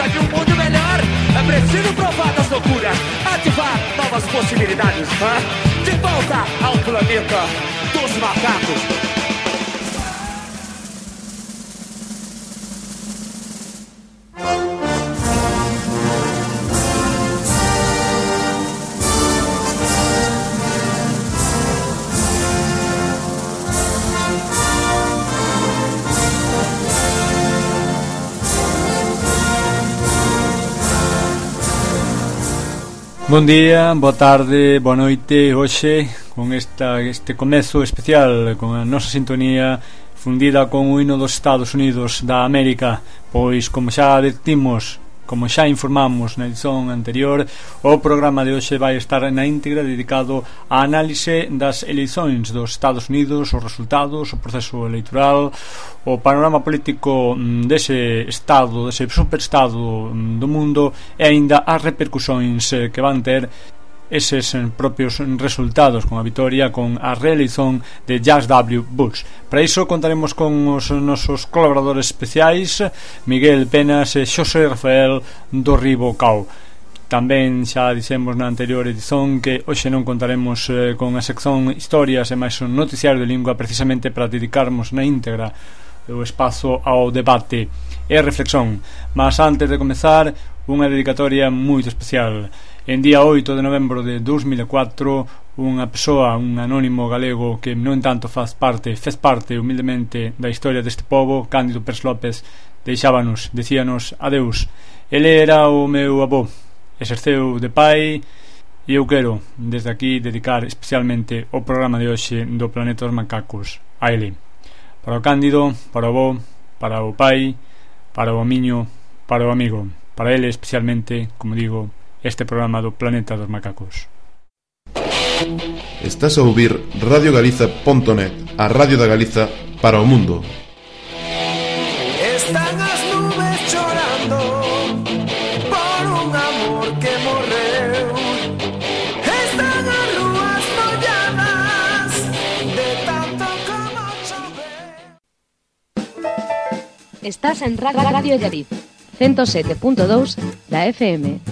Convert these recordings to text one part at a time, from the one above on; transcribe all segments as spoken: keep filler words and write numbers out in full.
De um mundo melhor, é preciso provar das loucuras, ativar novas possibilidades. De volta ao planeta dos macacos. Bon día, boa tarde, boa noite. Hoxe, con esta, este comezo especial, con a nosa sintonía fundida con o hino dos Estados Unidos da América, pois, como xa advertimos, como xa informamos na edición anterior, o programa de hoxe vai estar na íntegra dedicado á análise das eleicións dos Estados Unidos, os resultados, o proceso electoral, o panorama político dese estado, dese superestado do mundo, e aínda as repercusións que van ter eses propios resultados, con a vitoria, con a reeleición de George W. Bush. Para iso contaremos con os nosos colaboradores especiais, Miguel Penas e Xosé Rafael do Ribo Cao. Tamén xa dixemos na anterior edición que hoxe non contaremos eh, con a sección Historias e máis un noticiario de lingua, precisamente para dedicarmos na íntegra o espazo ao debate e reflexión. Mas antes de comezar, unha dedicatoria moito especial. En día oito de novembro de dous mil e catro, unha persoa, un anónimo galego que non tanto faz parte, fez parte humildemente da historia deste pobo, Cándido Pérez López, deixábanos, decíanos adeus. Ele era o meu avó, exerceu de pai, e eu quero desde aquí dedicar especialmente o programa de hoxe do Planeta dos Macacos a ele. Para o Cándido, para o avó, para o pai, para o amiño, para o amigo, para ele especialmente, como digo, este programa do Planeta dos Macacos. Estás a ouvir radio galiza punto net, a radio da Galiza para o mundo. Están as nubes chorando por un amor que morreu. Están as rúas molladas de tanto como chover. Estás en Radio Llariz, ciento sete punto dous da F M.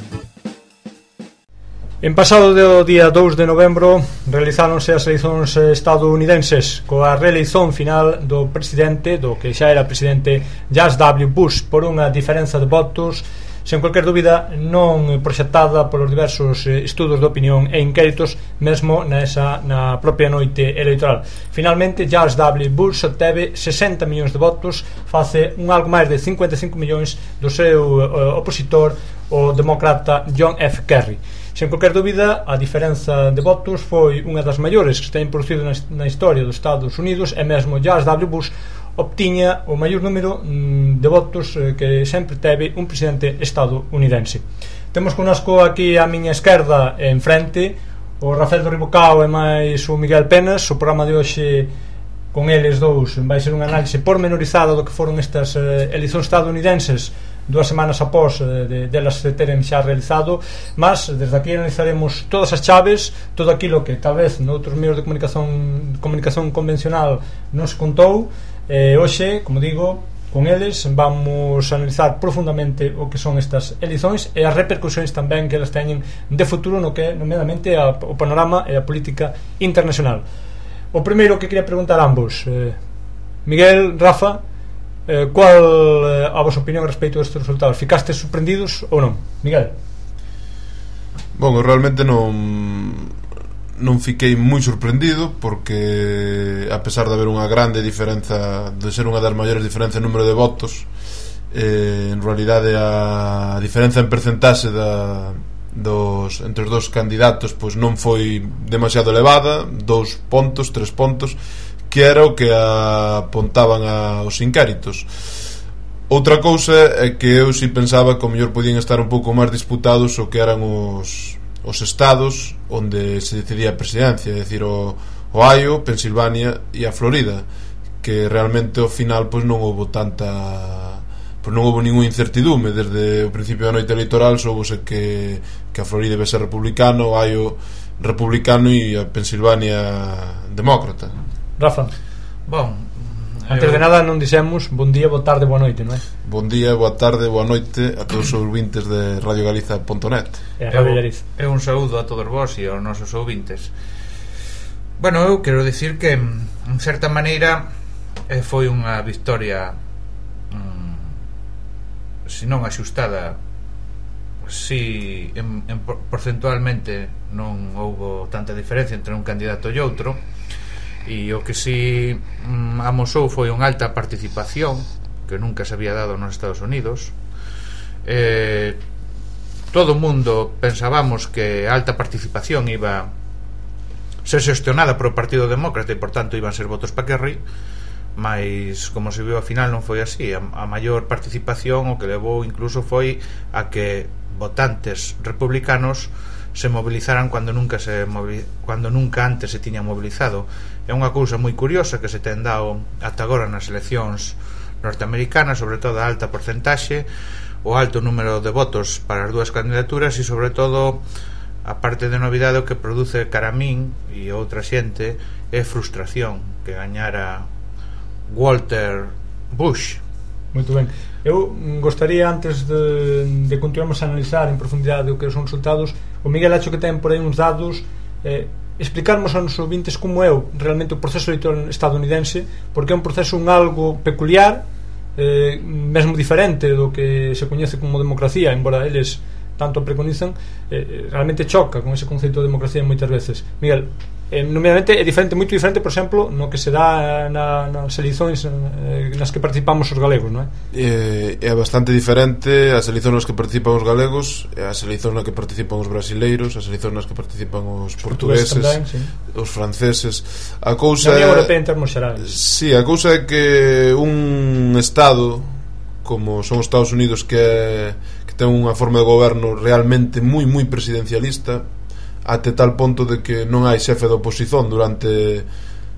En pasado do día dous de novembro realizáronse as eleicións estadounidenses coa reeleición final do presidente, do que xa era presidente, George W. Bush, por unha diferenza de votos sen cualquier dúbida non proxectada polos diversos estudos de opinión e inquéritos mesmo nesa, na propia noite electoral. Finalmente, George W. Bush obteve sesenta millóns de votos face un algo máis de cincuenta e cinco millóns do seu uh, opositor, o demócrata John F. Kerry. Sen cualquier dúbida, a diferenza de votos foi unha das maiores que se ten producido na, na historia dos Estados Unidos, e mesmo George W. Bush obtiña o maior número de votos que sempre teve un presidente estadounidense. Temos connosco aquí a miña esquerda en frente o Rafael do Ribo Cao e máis o Miguel Penas. O programa de hoxe con eles dous vai ser unha análise pormenorizada do que foron estas eleicións estadounidenses dúas semanas após de, delas de teren xa realizado, mas desde aquí analizaremos todas as chaves, todo aquilo que tal vez noutros medios de comunicación comunicación convencional non se contou. Eh, hoxe, como digo, con eles vamos a analizar profundamente o que son estas eleicións e as repercusións tamén que elas teñen de futuro no que nomeadamente a, o panorama e a política internacional. O primeiro que quería preguntar a ambos, eh, Miguel, Rafa, eh, cual eh, a vosa opinión respecto a estes resultados? Ficastes sorprendidos ou non? Miguel? Bom, eu realmente non non fiquei moi sorprendido, porque a pesar de haber unha grande diferenza, de ser unha das maiores diferenzas en número de votos, eh, en realidade a diferenza en percentaxe da, dos, entre os dos candidatos pois non foi demasiado elevada, dous pontos, tres pontos, que era o que apontaban a, os inquéritos. Outra cousa é que eu si pensaba que o mellor podían estar un pouco máis disputados o que eran os os estados onde se decidía a presidencia, é dicir, o Ohio, Pensilvania e a Florida, que realmente ao final pois non houbo tanta pois non houbo ninguna incertidume. Desde o principio da noite electoral soubose que, que a Florida iba a ser republicana, o Ohio republicano e a Pensilvania demócrata. Rafa, Bon, antes eu... de nada non dixemos bon día, boa tarde, boa noite, non é? Bon día, boa tarde, boa noite a todos os ouvintes de radio galiza punto net. E a Radio Galiza. É un saúdo a todos vós e aos nosos ouvintes. Bueno, eu quero dicir que en certa maneira eh, foi unha victoria mm, se non axustada, si en, en porcentualmente non houbo tanta diferencia entre un candidato e outro, e o que si mm, amosou foi unha alta participación que nunca se había dado nos Estados Unidos. eh, todo o mundo pensábamos que a alta participación iba ser xestionada por o Partido Demócrata e por tanto iban ser votos para Kerry, mas como se viu ao final non foi así. A, a maior participación o que levou incluso foi a que votantes republicanos se movilizaran cando nunca se movil... cando nunca antes se tiña mobilizado. É unha cousa moi curiosa que se ten dado ata agora nas eleccións norteamericanas, sobre todo a alta porcentaxe, o alto número de votos para as dúas candidaturas e sobre todo a parte de novidade o que produce cara a min e outra xente é frustración que gañara Walter Bush. Moito ben. Eu gostaría, antes de, de continuarmos a analizar en profundidade o que son resultados, o Miguel acho que ten por aí uns dados, eh, explicarmos aos ouvintes como é o, realmente o proceso electoral estadounidense, porque é un proceso un algo peculiar, eh, mesmo diferente do que se coñece como democracia, embora eles tanto preconizan, eh, realmente choca con ese conceito de democracia moitas veces. Miguel, eh, nomeadamente é diferente, moito diferente, por exemplo, no que se dá na, nas eleições eh, nas que participamos os galegos, non é? É, é bastante diferente as eleições nas que participan os galegos, as eleições nas que participan os brasileiros, as eleições nas que participan os portugueses, tamén, sí, os franceses. A cousa na Unión Europea en termos xerais. Sí, a cousa é que un estado como son os Estados Unidos, que é, que ten unha forma de goberno realmente moi moi presidencialista, até tal ponto de que non hai xefe de oposición durante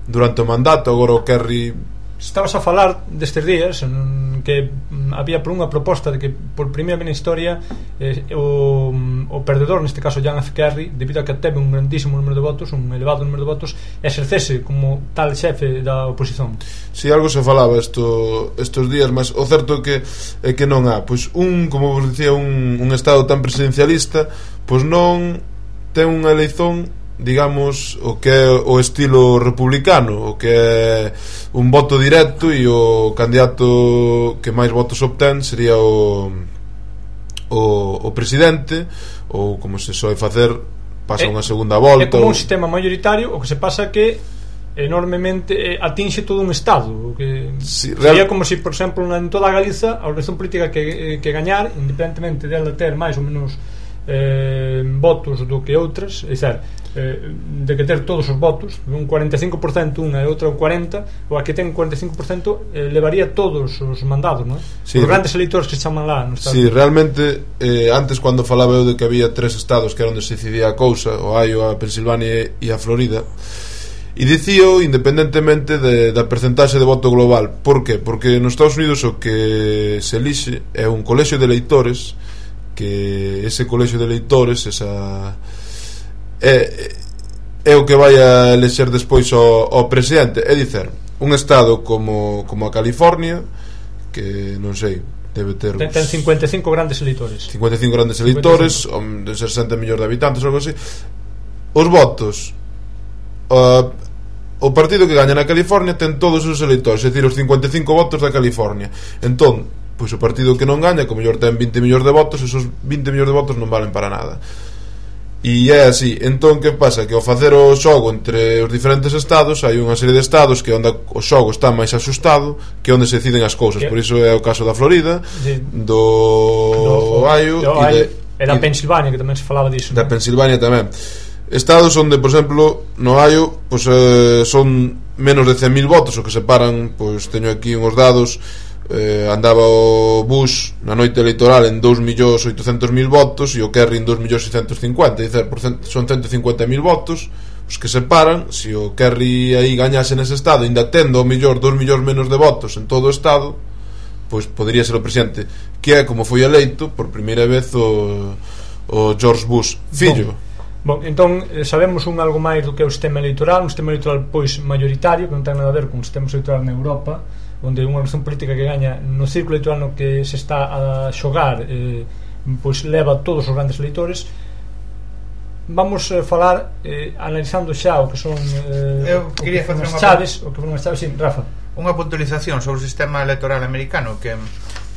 durante o mandato. Agora o Kerry, estabas a falar destes días que había por unha proposta de que por primeira vez na historia eh, o, o perdedor, neste caso John F. Kerry, debido a que teve un grandísimo número de votos, un elevado número de votos, exercese como tal xefe da oposición. Si, algo se falaba esto, estos días, mas o certo é que é que non há, pois un, como vos dicía, un, un estado tan presidencialista, pois non ten unha eleición, digamos, o que é o estilo republicano, o que é un voto directo, e o candidato que máis votos obtén sería o o, o presidente, ou como se soe facer, pasa unha segunda volta. É como ou... un sistema mayoritario, o que se pasa que enormemente eh, atinxe todo un estado, o que sí, sería real... como se, si, por exemplo, en toda a Galiza a organización política que, que gañar, independentemente dela ter máis ou menos eh, votos do que outras, é dicir, eh, de que ter todos os votos, un cuarenta e cinco por cento unha e outra un cuarenta por cento, ou a que ten cuarenta e cinco por cento eh, levaría todos os mandados, non? Sí, os grandes eleitores que se chaman lá no estado. Sí, realmente eh, antes, cando falaba eu de que había tres estados que era onde se decidía a cousa, o Ohio, a Pensilvania e a Florida, e dicío independentemente de, da percentaxe de voto global. Por que? Porque nos Estados Unidos o que se elixe é un colexio de eleitores, que ese colexio de eleitores, esa é, é o que vai a elexer despois o, o presidente. É dicer, un estado como, como a California, que non sei, debe ter ten, ten cincuenta e cinco grandes eleitores, cincuenta e cinco grandes eleitores, de sesenta millóns de habitantes ou algo así. Os votos, uh, o partido que gaña na California ten todos os eleitores, é dicir, os cincuenta e cinco votos da California. Entón, pois o partido que non gaña, como mellor ten vinte millóns de votos, esos vinte millóns de votos non valen para nada. E é así. Entón, que pasa? Que ao facer o xogo entre os diferentes estados, hai unha serie de estados que onde o xogo está máis asustado, que onde se deciden as cousas. Por iso é o caso da Florida, sí, do, do Ohio, do Ohio e, de, e da Pensilvania, que tamén se falaba disso, da non? Pensilvania tamén. Estados onde, por exemplo, no Ohio, pois, eh, son menos de cen mil votos o que separan, pois teño aquí uns dados, eh, andaba o Bush na noite electoral en dous millóns oitocentos mil votos e o Kerry en dous millóns seiscentos cincuenta, dicer, por cento, son ciento cincuenta mil votos os que separan. Se o Kerry aí gañase nese estado, ainda tendo ao mellor dous millóns menos de votos en todo o estado, pois podería ser o presidente, que é como foi eleito por primeira vez o, o George Bush fillo. Bon, bon, entón sabemos un algo máis do que é o sistema electoral, un sistema electoral pois mayoritario, que non ten nada a ver con o sistema electoral na Europa, onde unha organización política que gaña no círculo electoral no que se está a xogar, eh, pois leva todos os grandes eleitores. Vamos a falar eh, analizando xa o que son eh, eu quería facer as chaves, o que foron as chaves, sin Rafa. Unha puntualización sobre o sistema electoral americano que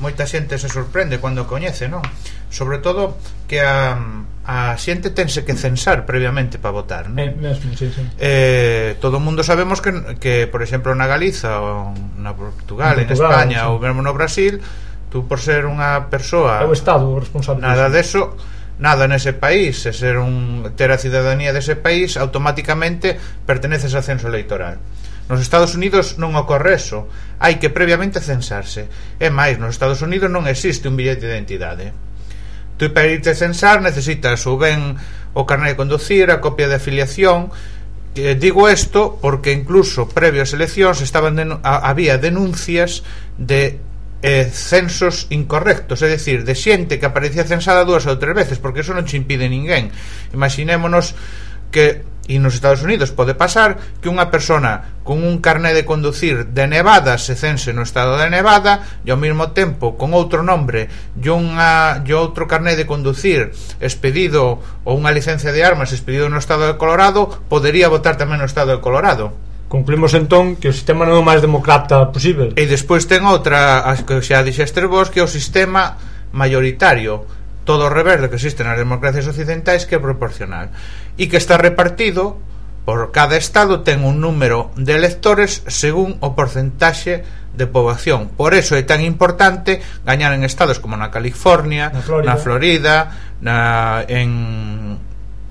moita xente se sorprende cando o coñece, non? Sobre todo que a, a xente tense que censar previamente para votar, non? Eh, mesmo, sí, sí. Eh, todo o mundo sabemos que, que por exemplo na Galiza ou na Portugal, en, Portugal, España sí. ou mesmo no Brasil, tú por ser unha persoa É o Estado o responsable nada disso. deso, nada nese país, e ser un ter a cidadanía dese país, automáticamente perteneces ao censo electoral. Nos Estados Unidos non ocorre eso, hai que previamente censarse. E máis, nos Estados Unidos non existe un billete de identidade. Tú para irte a censar necesitas ou ben o carné de conducir, a copia de afiliación. Eh, digo isto porque incluso previo ás eleccións estaban denu- a, había denuncias de eh, censos incorrectos, é dicir, de xente que aparecía censada dúas ou tres veces, porque eso non che impide ninguén. Imaginémonos que, e nos Estados Unidos pode pasar, que unha persona con un carné de conducir de Nevada se cense no estado de Nevada e ao mesmo tempo con outro nombre e, unha, e outro carné de conducir expedido ou unha licencia de armas expedido no estado de Colorado, podería votar tamén no estado de Colorado. Concluímos entón que o sistema non é o máis democrata posible. E despois ten outra, as que xa dixestes vos, que é o sistema mayoritario, todo o revés do que existe nas democracias occidentais, que é proporcional e que está repartido por cada estado, ten un número de electores según o porcentaxe de poboación. Por eso é tan importante gañar en estados como na California, na Florida, na Florida na, en,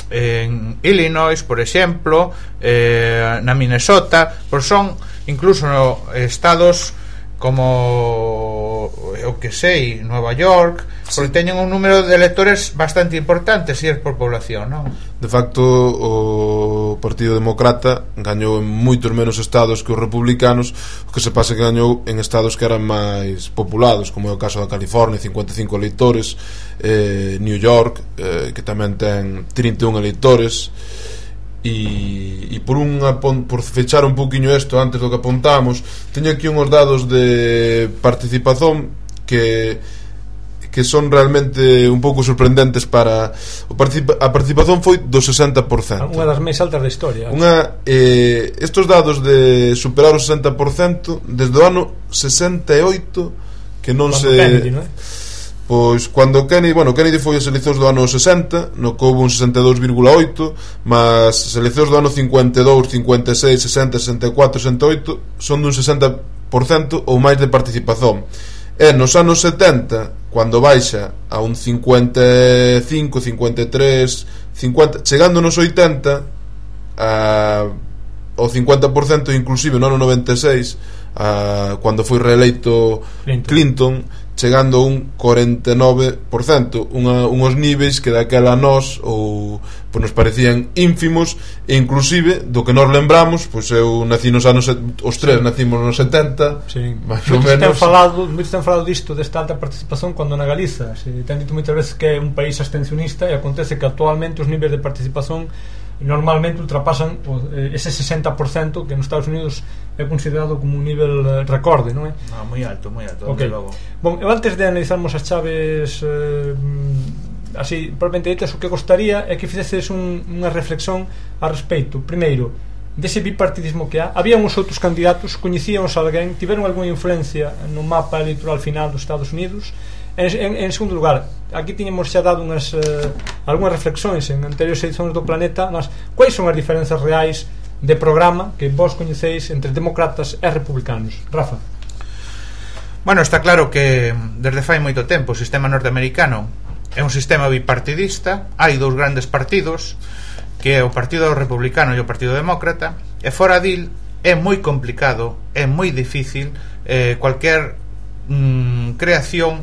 en Illinois, por exemplo, eh, na Minnesota, pois son incluso no, estados como o que sei, Nova York, sí, porque teñen un número de electores bastante importante se si é por población, non? De facto, o Partido Demócrata gañou en moitos menos estados que os republicanos, o que se pasa que gañou en estados que eran máis populados, como é o caso da California, cincuenta e cinco eleitores, eh, New York, eh, que tamén ten trinta e un eleitores. E, e por unha por fechar un poquinho isto antes do que apuntamos, teño aquí uns dados de participación que que son realmente un pouco sorprendentes. Para o participa, a participación foi do sesenta por cento, unha das máis altas da historia. Unha, eh, estos dados de superar o sesenta por cento desde o ano sesenta e oito que non Cuando se Kennedy, non é? Pois cando Kennedy, bueno, Kennedy foi as eleccións do ano sesenta, no que houve un sesenta e dous vírgula oito, mas as eleccións do ano cincuenta e dous, cincuenta e seis, sesenta, sesenta e catro, sesenta e oito son dun sesenta por cento ou máis de participación. E nos anos setenta, cando baixa a un cincuenta e cinco, cincuenta e tres, cincuenta, chegando nos oitenta a, ao cincuenta por cento, inclusive no ano noventa e seis, a, cando foi reeleito Clinton, Clinton, chegando a un cuarenta e nove por cento, unha, unhos níveis que daquela nós ou pois nos parecían ínfimos, e inclusive do que nos lembramos, pois eu nací nos anos, os tres nacimos nos setenta, sí, máis ou moitos ten menos. falado, moitos ten falado disto, desta alta participación, cando na Galiza se ten dito moitas veces que é un país abstencionista, e acontece que actualmente os niveis de participación normalmente ultrapasan ese sesenta por cento que nos Estados Unidos é considerado como un nivel recorde, non é? No, moi alto, moi alto, okay. logo. Bon, eu antes de analizarmos as chaves eh, así, propiamente ditas, o que gostaría é que ficeses un, unha reflexión a respeito, primeiro, dese bipartidismo que há. Había uns outros candidatos, coñecíamos alguén, tiveron algunha influencia no mapa electoral final dos Estados Unidos. En, en, en segundo lugar, aquí tiñamos xa dado unhas, eh, algunhas reflexións en anteriores edicións do Planeta, mas quais son as diferenzas reais de programa que vos coñecéis entre demócratas e republicanos? Rafa. Bueno, está claro que desde fai moito tempo o sistema norteamericano é un sistema bipartidista, hai dous grandes partidos, que é o Partido Republicano e o Partido Demócrata, e fora dil é moi complicado, é moi difícil eh, cualquier mm, creación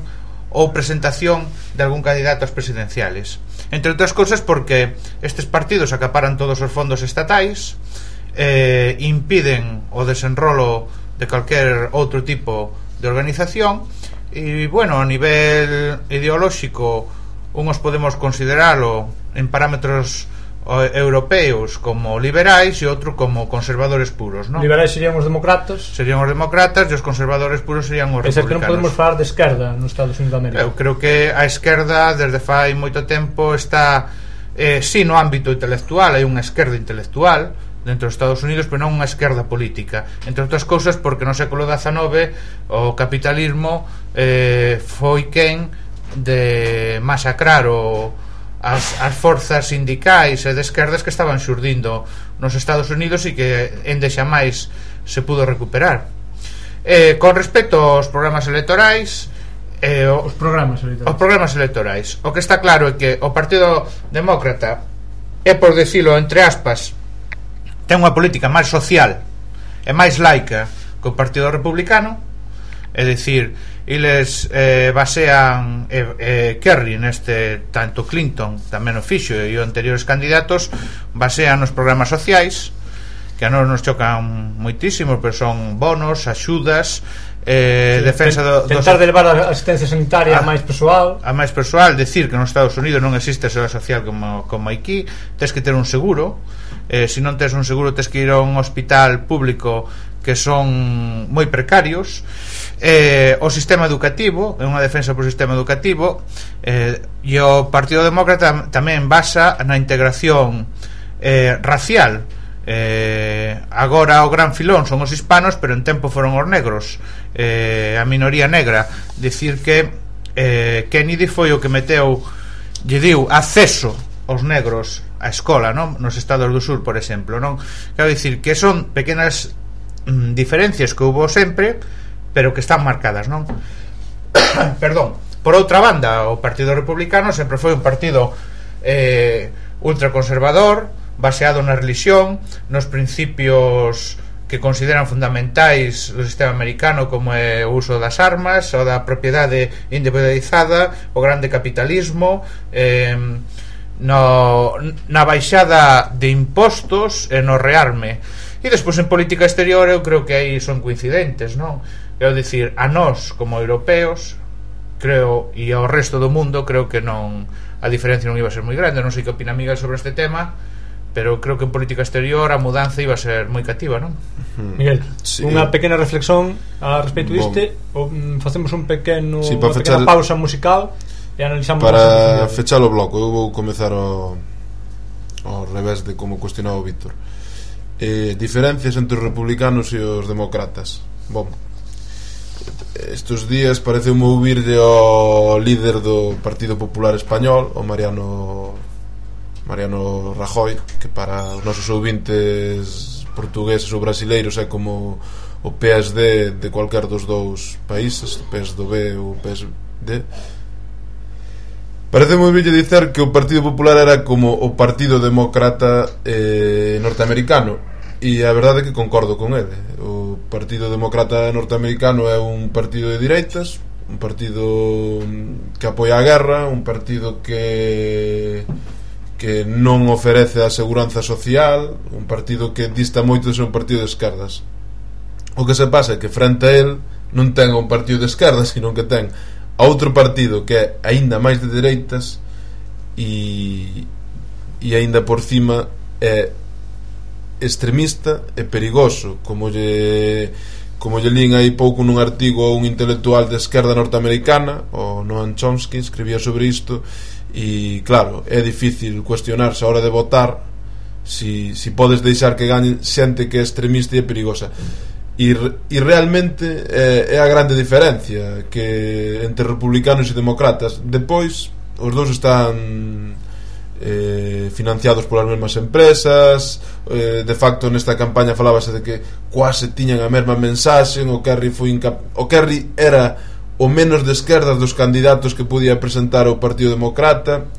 ou presentación de algún candidato ás presidenciales. Entre outras cousas porque estes partidos acaparan todos os fondos estatais, eh, impiden o desenrolo de calquer outro tipo de organización e, bueno, a nivel ideolóxico uns podemos consideralo en parámetros europeos como liberais e outro como conservadores puros, ¿no? Liberais serían os demócratas, serían os demócratas e os conservadores puros serían os republicanos. É que non podemos falar de esquerda nos Estados Unidos de América. Eu creo que a esquerda desde fai moito tempo está eh, sí no ámbito intelectual, hai unha esquerda intelectual dentro dos Estados Unidos, pero non unha esquerda política, entre outras cousas porque no século dezanove o capitalismo eh, foi quen de masacrar o As, as forzas sindicais e de esquerdas que estaban xurdindo nos Estados Unidos e que endexa máis se pudo recuperar. Eh, con respecto aos programas electorais, eh, o, os programas electorais. Os programas electorais, o que está claro é que o Partido Demócrata é, por decirlo entre aspas, ten unha política máis social e máis laica que o Partido Republicano, é dicir, eles eh, basean eh, eh, Kerry neste, tanto Clinton tamén o fixo e os anteriores candidatos basean nos programas sociais que a nós nos chocan moitísimo, pero son bonos, axudas, eh, sí, defensa do, tentar de levar a asistencia sanitaria a, a máis persoal a máis persoal, decir que nos Estados Unidos non existe a seguridade social como, como aquí, tens que ter un seguro, eh, se non tens un seguro tens que ir a un hospital público que son moi precarios. Eh, o sistema educativo é unha defensa por sistema educativo, eh, e o Partido Demócrata tamén basa na integración eh, racial. Eh, agora o gran filón son os hispanos, pero en tempo foron os negros, eh, a minoría negra. Dicir que eh, Kennedy foi o que meteu, lle diu acceso aos negros á escola, non? Nos estados do sur, por exemplo, non? Quero dicir que son pequenas mm, diferencias que houve sempre, pero que están marcadas, non? Perdón. Por outra banda, o Partido Republicano sempre foi un partido eh, ultraconservador, baseado na religión, nos principios que consideran fundamentais do sistema americano, como é o uso das armas, o da propiedade individualizada, o grande capitalismo, eh, no, na baixada de impostos e no rearme. E despois en política exterior eu creo que aí son coincidentes, non? Quero dicir, a nós como europeos creo, e ao resto do mundo creo que non, a diferencia non iba a ser moi grande. Non sei que opina Miguel sobre este tema, pero creo que en política exterior a mudanza iba a ser moi cativa, non? Miguel, sí, unha pequena reflexión a respecto diste, o, facemos un pequeno, sí, unha pequena pausa musical e analizamos para fechar o bloco. Eu vou comezar ao, ao revés de como cuestionaba o Víctor. Eh, diferencias entre os republicanos e os demócratas. Bom, estes días pareceu ouvirlle ao líder do Partido Popular Español, o Mariano Mariano Rajoy, que para os nosos ouvintes portugueses ou brasileiros é como o P S D de cualquier dos dous países, o P S do B ou o P S D. Parece moi bello dicer que o Partido Popular era como o Partido Demócrata eh, norteamericano, e a verdade é que concordo con ele. O Partido Demócrata norteamericano é un partido de direitas, un partido que apoia a guerra, un partido que que non oferece a seguranza social, un partido que dista moito de ser un partido de esquerdas. O que se pasa é que frente a él non ten un partido de esquerdas, sino que ten a outro partido que é aínda máis de dereitas e e aínda por cima é extremista e perigoso, como lle como lle lín aí pouco nun artigo a un intelectual de esquerda norteamericana, o Noam Chomsky, escribía sobre isto. E claro, é difícil cuestionarse a hora de votar si, si podes deixar que gañe xente que é extremista e perigosa. E, e realmente é, é a grande diferencia que entre republicanos e demócratas. Depois, os dous están eh, financiados polas mesmas empresas, eh, de facto nesta campaña falábase de que quase tiñan a mesma mensaxe. O Kerry foi incap- o Kerry era o menos de esquerdas dos candidatos que podía presentar o Partido Demócrata.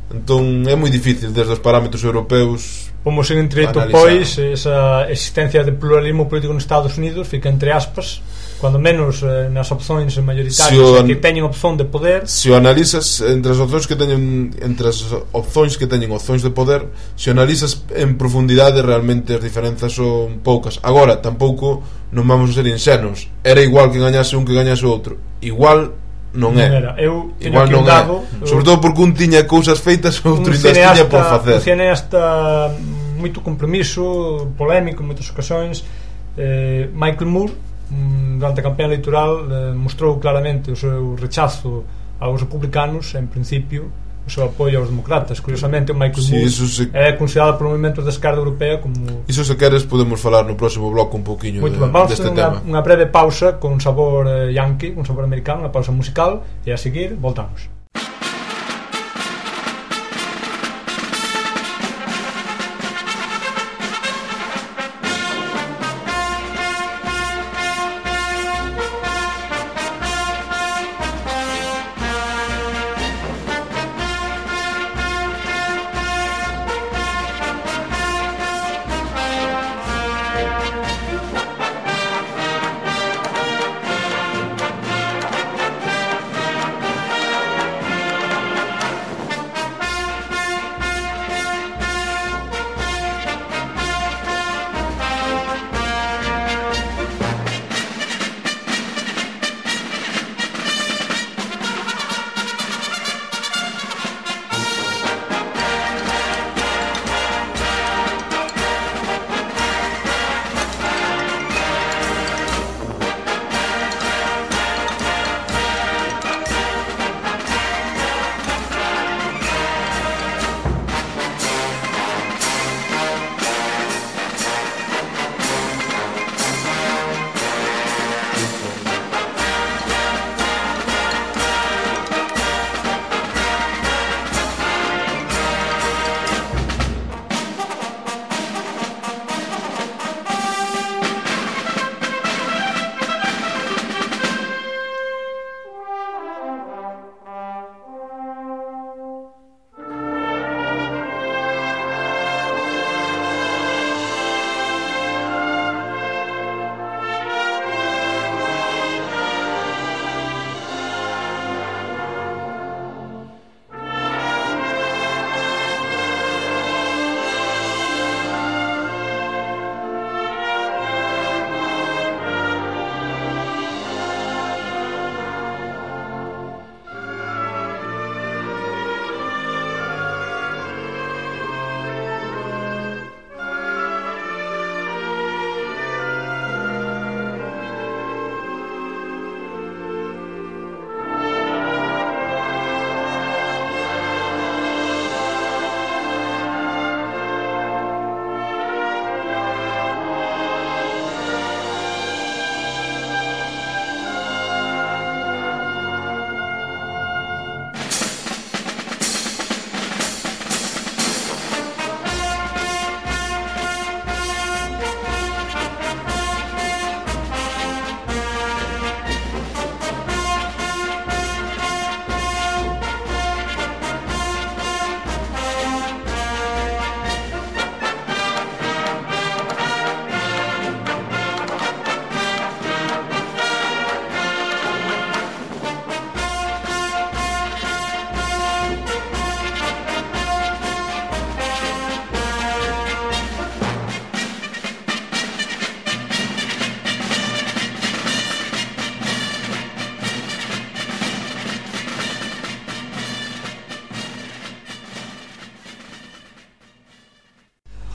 Entón é moi difícil desde os parámetros europeus. Como sen entreito, pois, esa existencia de pluralismo político nos Estados Unidos fica entre aspas Cuando menos eh, nas opcións mayoritarias, si an... que teñen opción de poder. Se o analizas entre as opcións que teñen entre as opcións que teñen opcións de poder, se o analizas en profundidade, realmente as diferenzas son poucas. Agora, tampouco non vamos a ser insenos. Era igual que gañase un que gañase outro. Igual non é. Non eu igual non dado, é. Sobre todo porque un tiña cousas feitas e outro ainda tiña por facer. Un cineasta moito compromiso, polémico en moitas ocasións. eh, Michael Moore, durante a campaña electoral, eh, mostrou claramente o seu rechazo aos republicanos, en principio o seu apoio aos democratas. Curiosamente, o Michael sí, Moore se... é considerado por movimentos da esquerda europea como... Iso, se queres, podemos falar no próximo bloco un pouquiño de, Vamos deste a tema. Unha breve pausa con sabor eh, yankee, con sabor americano, unha pausa musical, e a seguir voltamos.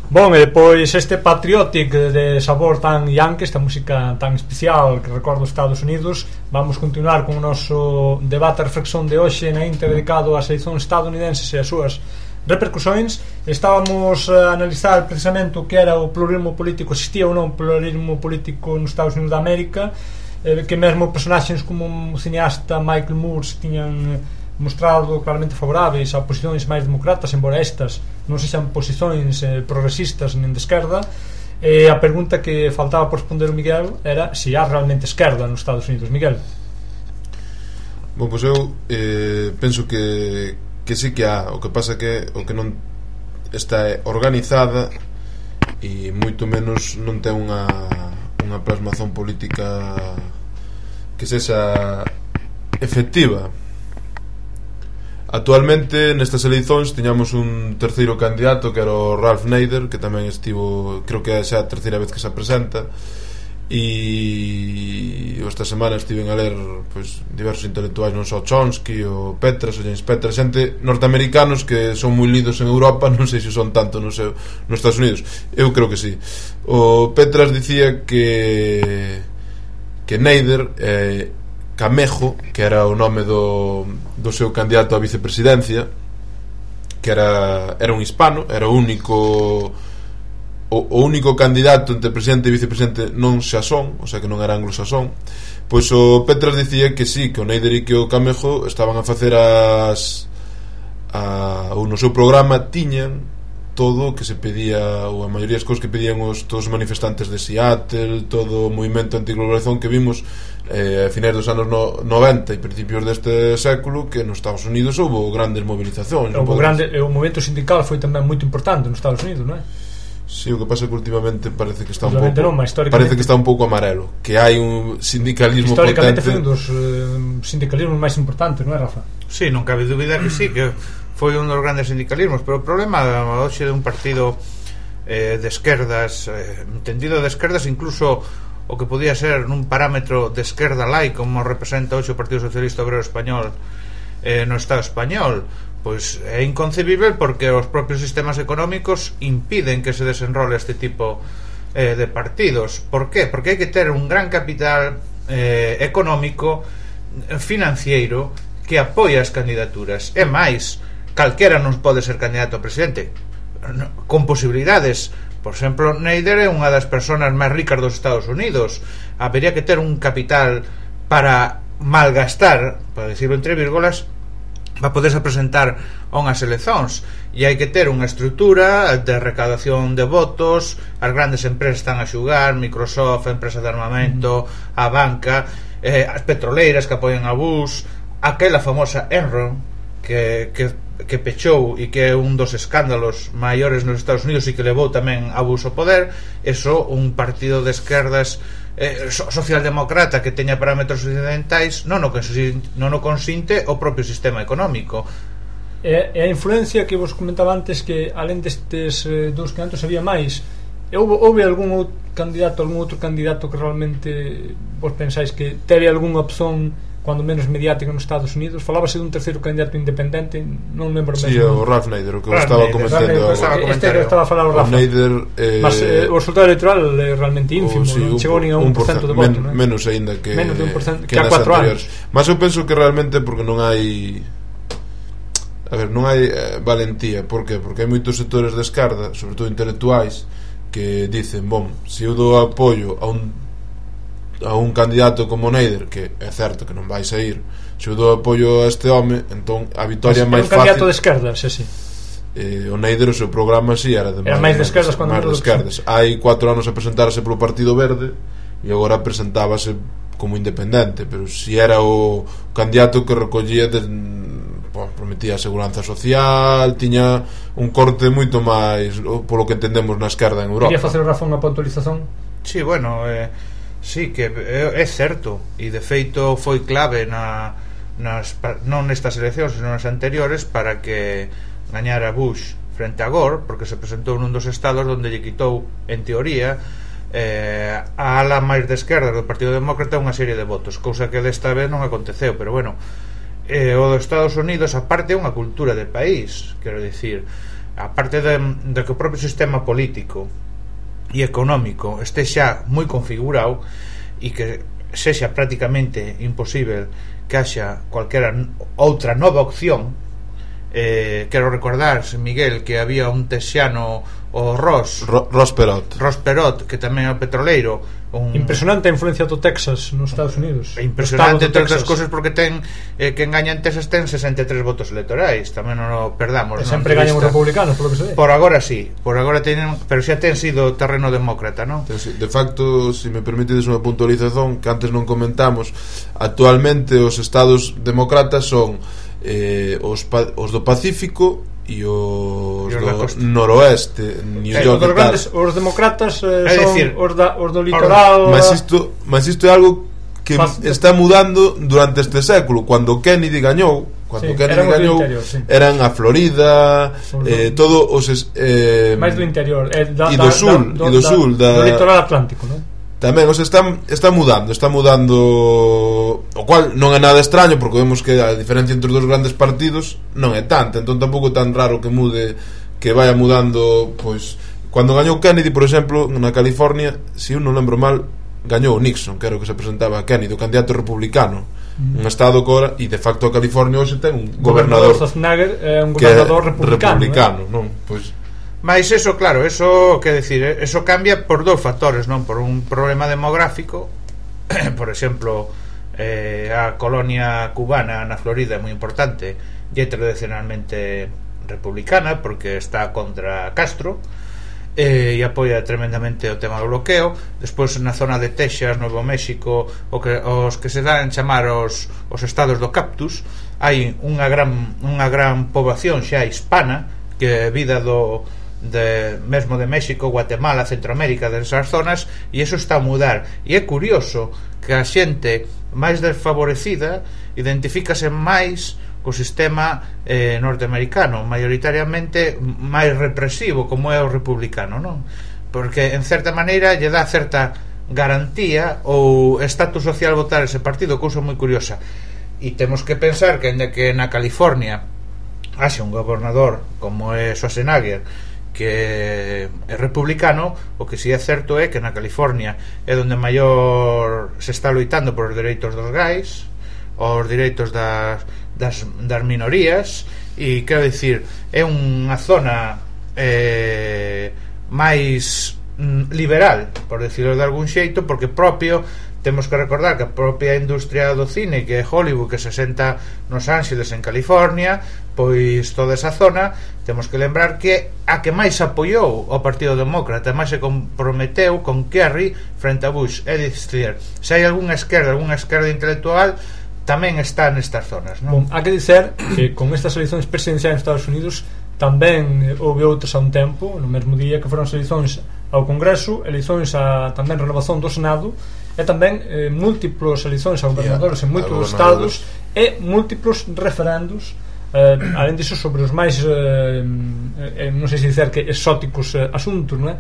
Bon, e depois este Patriotic de sabor tan yankee, esta música tan especial que recorda os Estados Unidos, vamos continuar con o noso debate e reflexión de hoxe na Inter dedicado ás eleicións estadounidenses e as súas repercusións. Estábamos a analizar precisamente o que era o pluralismo político, existía ou non o pluralismo político nos Estados Unidos da América, eh, que mesmo personaxes como o cineasta Michael Moore se tiñan mostrado claramente favoráveis a posicións máis democratas, embora estas non sexan posicións eh, progresistas nin de esquerda. E a pregunta que faltaba por responder o Miguel era se há realmente esquerda nos Estados Unidos. Miguel? Bom, pois eu eh, penso que que sí que há, o que pasa que o que non está organizada e moito menos non ten unha unha plasmación política que sexa efectiva. Actualmente nestas eleicións tiñamos un terceiro candidato que era o Ralph Nader, que tamén estivo, creo que é xa a terceira vez que se presenta, e esta semana estiven a ler pois, diversos intelectuais, non só Chomsky ou Petras ou James Petras, xente norteamericanos que son moi lidos en Europa, non sei se son tanto no seu, nos Estados Unidos. Eu creo que sí. O Petras dicía que que Nader eh, Camejo, que era o nome do, do seu candidato a vicepresidencia, que era, era un hispano, era o único o, o único candidato entre presidente e vicepresidente non xasón, o sea que non era anglosaxón. Pois o Petras dicía que sí, que o Nader e que o Camejo estaban a facer as a, ou no seu programa tiñan todo o que se pedía, ou a maioría das cousas que pedían os, todos os manifestantes de Seattle, todo o movimento antiglobalización que vimos eh, a finais dos anos no, noventa e principios deste século, que nos Estados Unidos houve grandes movilizacións. O, grande, o movimento sindical foi tamén moito importante nos Estados Unidos, non é? Sí, o que pasa é que últimamente parece que está un pouco non, parece que está un pouco amarelo, que hai un sindicalismo históricamente potente. Históricamente foi un dos eh, sindicalismos máis importantes, non é, Rafa? Sí, non cabe dúbida que sí, que foi un dos grandes sindicalismos, pero o problema hoxe de un partido eh, de esquerdas, eh, entendido de esquerdas, incluso o que podía ser nun parámetro de esquerda lai, como representa hoxe o Partido Socialista Obrero Español eh, no Estado español, pois é inconcebible porque os propios sistemas económicos impiden que se desenrole este tipo eh, de partidos. Por qué? Porque hai que ter un gran capital eh, económico, financiero, que apoia as candidaturas. E máis, calquera non pode ser candidato a presidente, con posibilidades. Por exemplo, Nader é unha das persoas máis ricas dos Estados Unidos. Habería que ter un capital para malgastar, para decirlo entre vírgulas, para poderse presentar a unhas eleccións, e hai que ter unha estrutura de recaudación de votos. As grandes empresas están a xugar, Microsoft, a empresa de armamento, a banca, eh, as petroleiras que apoian a Bush, aquela famosa Enron que, que, que pechou e que é un dos escándalos maiores nos Estados Unidos e que levou tamén a Bush ao poder. Eso, un partido de esquerdas eh, socialdemócrata que teña parámetros occidentais non o, non o consinte o propio sistema económico. E, e a influencia que vos comentaba antes, que alén destes eh, dous candidatos había máis, houve, houve algún outro candidato algún outro candidato que realmente vos pensáis que teve algunha opción cando menos mediática nos Estados Unidos? Falábase dun terceiro candidato independente, non lembro mesmo. Sí, o Ralph Nader, o que Ralph estaba comentando. Este que estaba a falar o Rafa. Nader, eh, mas eh, o resultado electoral é realmente ínfimo, sí, non chegou nin a un por cento de voto, men, menos aínda que menos de un por cento que, que a cuatro anos. Mas eu penso que realmente porque non hai a ver, non hai eh, valentía. Por qué? Porque hai moitos sectores de esquerda, sobre todo intelectuais, que dicen, bom, se eu dou apoio a un a un candidato como Nader, que é certo que non vai sair, se eu dou apoio a este home, entón a vitoria é máis fácil. É un candidato de esquerdas, sí, sí. Eh, o Nader, o seu programa si sí, era de era máis de esquerdas cando máis de esquerdas. Hai cuatro anos a presentarse polo Partido Verde e agora presentábase como independente, pero si era o candidato que recollía de, bueno, prometía a seguranza social, tiña un corte moito máis polo que entendemos na esquerda en Europa. Quería facer o razón a puntualización? Sí, bueno, eh sí, que é, é certo, e de feito foi clave na, nas, non nestas eleccións, senón nas anteriores, para que gañara Bush frente a Gore, porque se presentou nun dos estados onde lle quitou, en teoría, eh, a ala máis de esquerda do Partido Demócrata unha serie de votos, cousa que desta vez non aconteceu. Pero bueno, eh, o dos Estados Unidos, aparte, é unha cultura de país, quero dicir, aparte de, de que o propio sistema político e económico este xa moi configurado e que sexa prácticamente imposible que haxa cualquera outra nova opción. Eh, quero recordar, Miguel, que había un texiano, o Ross Ro, Ross Perot Ross Perot, que tamén é o petroleiro, un... impresionante a influencia do Texas nos Estados Unidos. Impresionante entre outras cousas, porque ten eh, que engaña en Texas ten sesenta e tres votos electorais, tamén non o perdamos. E sempre gañan os republicanos, polo que se ve. Por agora sí, por agora teñen, pero xa ten sido terreno demócrata, non? De facto, se si me permitedes unha puntualización que antes non comentamos, actualmente os estados demócratas son eh, os, os do Pacífico e os do noroeste, New eh, York, os, grandes, os demócratas eh, son decir, os, da, os do litoral. Mas isto, mas isto é algo que Faz... está mudando durante este século. Cando Kennedy gañou, Cando sí, Kennedy gañou, interior, sí. eran a Florida, eh, todo os eh, máis do interior, eh, da, e do sul, da, e do sul, da, do litoral atlántico, non? Tamén, os están está mudando, está mudando, o cual non é nada extraño porque vemos que a diferencia entre os dos grandes partidos non é tanta, entón tampouco é tan raro que mude, que vaya mudando, pois cando gañou Kennedy, por exemplo, na California, se eu non lembro mal, gañou Nixon, que era o que se presentaba a Kennedy, o candidato republicano, mm. un estado cora, e de facto a California hoxe ten un gobernador, gobernador Schwarzenegger é un gobernador republicano, republicano eh? non? Pois mais eso, claro, eso que decir, eso cambia por dous factores, non? Por un problema demográfico, por exemplo, eh, a colonia cubana na Florida é moi importante e é tradicionalmente republicana porque está contra Castro, eh, e apoia tremendamente o tema do bloqueo. Despois na zona de Texas, Novo México, o que, os que se dan chamar os, os estados do cactus, hai unha gran, unha gran poboación xa hispana que é vida do de, mesmo de México, Guatemala, Centroamérica, desas zonas, e eso está a mudar. E é curioso que a xente máis desfavorecida identifícase máis co sistema eh, norteamericano, maioritariamente máis represivo como é o republicano, non? Porque en certa maneira lle dá certa garantía ou estatus social votar ese partido, cousa moi curiosa. E temos que pensar que ainda que na California haxe un gobernador como é Schwarzenegger que é republicano, o que si é certo é que na California é onde maior se está loitando por os dereitos dos gais, os dereitos das, das, das minorías, e quero dicir, é unha zona eh, máis mm, liberal, por decirlo de algún xeito, porque propio temos que recordar que a propia industria do cine, que é Hollywood, que se senta nos Ángeles en California, pois toda esa zona, temos que lembrar que a que máis apoiou o Partido Demócrata, máis se comprometeu con Kerry frente a Bush. É dicir, se hai algunha esquerda, algunha esquerda intelectual, tamén está nestas zonas, non? Bon, hai que dizer que con estas eleições presidenciais nos Estados Unidos tamén houve outras a un tempo, no mesmo día, que foron as eleições ao Congreso, eleições a tamén renovación do Senado, e tamén eh, múltiplos eleições a gobernadores en moitos estados e múltiplos referendos, eh, alén disso sobre os máis eh, eh, non sei se dizer que exóticos eh, asuntos, non é?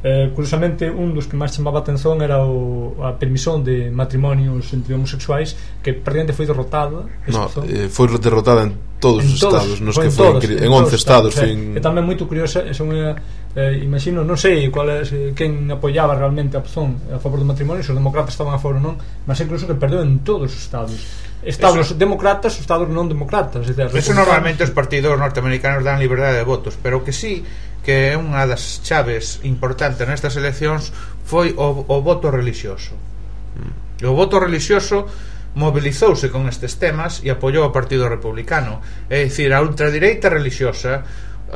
Eh, curiosamente un dos que máis chamaba a atención era o, a permisión de matrimonios entre homosexuais, que prácticamente foi derrotada. No, eh, foi derrotada en todos en os todos, estados, nos en que foi todos, en, en en once estados, estados, fin... é tamén moito curiosa, é unha eh, imagino, non sei cual é, quen apoiaba realmente a opción a favor do matrimonio, se os demócratas estaban a favor ou non, mas incluso que perdeu en todos os estados, estados eso, demócratas, estados non demócratas, é decir, eso normalmente os partidos norteamericanos dan liberdade de votos, pero que sí que é unha das chaves importantes nestas eleccións foi o, o voto religioso. O voto religioso mobilizouse con estes temas e apoiou o Partido Republicano, é dicir, a ultradereita religiosa,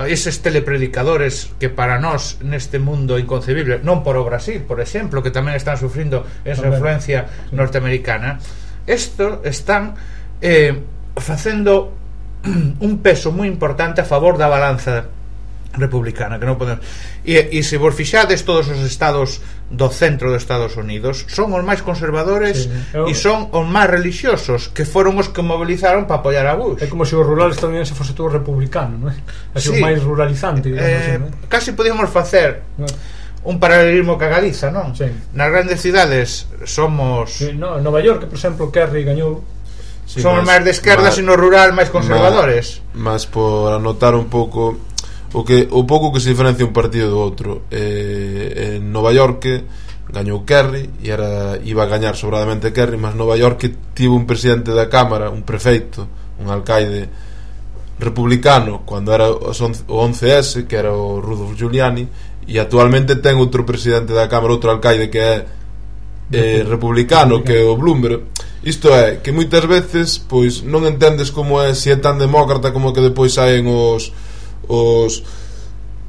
eses telepredicadores que para nós neste mundo inconcebible, non por o Brasil, por exemplo, que tamén están sufrindo esa tamén influencia norteamericana, isto están eh, facendo un peso moi importante a favor da balanza republicana, que non podemos. E, e se vos fixades, todos os estados do centro dos Estados Unidos son os máis conservadores, sí, eu... e son os máis religiosos, que foron os que movilizaron para apoiar a Bush. É como se o rural estadounidense fose todo republicano, non é? Así, sí, o máis ruralizante, digamos, eh, non é? Casi podíamos facer un paralelismo ca Galiza, non? Sí. Nas grandes cidades somos... Sí, no, en Nova York, por exemplo, Kerry gañou. Sí, somos máis de esquerdas e no rural máis conservadores. Mas por anotar un pouco o que o pouco que se diferencia un partido do outro, eh, en Nova York gañou Kerry e era iba a gañar sobradamente Kerry, mas Nova York tivo un presidente da Cámara, un prefeito, un alcaide republicano cando era o once ese, que era o Rudolph Giuliani, e actualmente ten outro presidente da Cámara, outro alcaide que é eh, republicano, que é o Bloomberg. Isto é, que moitas veces pois non entendes como é, se é tan demócrata como que depois saen os os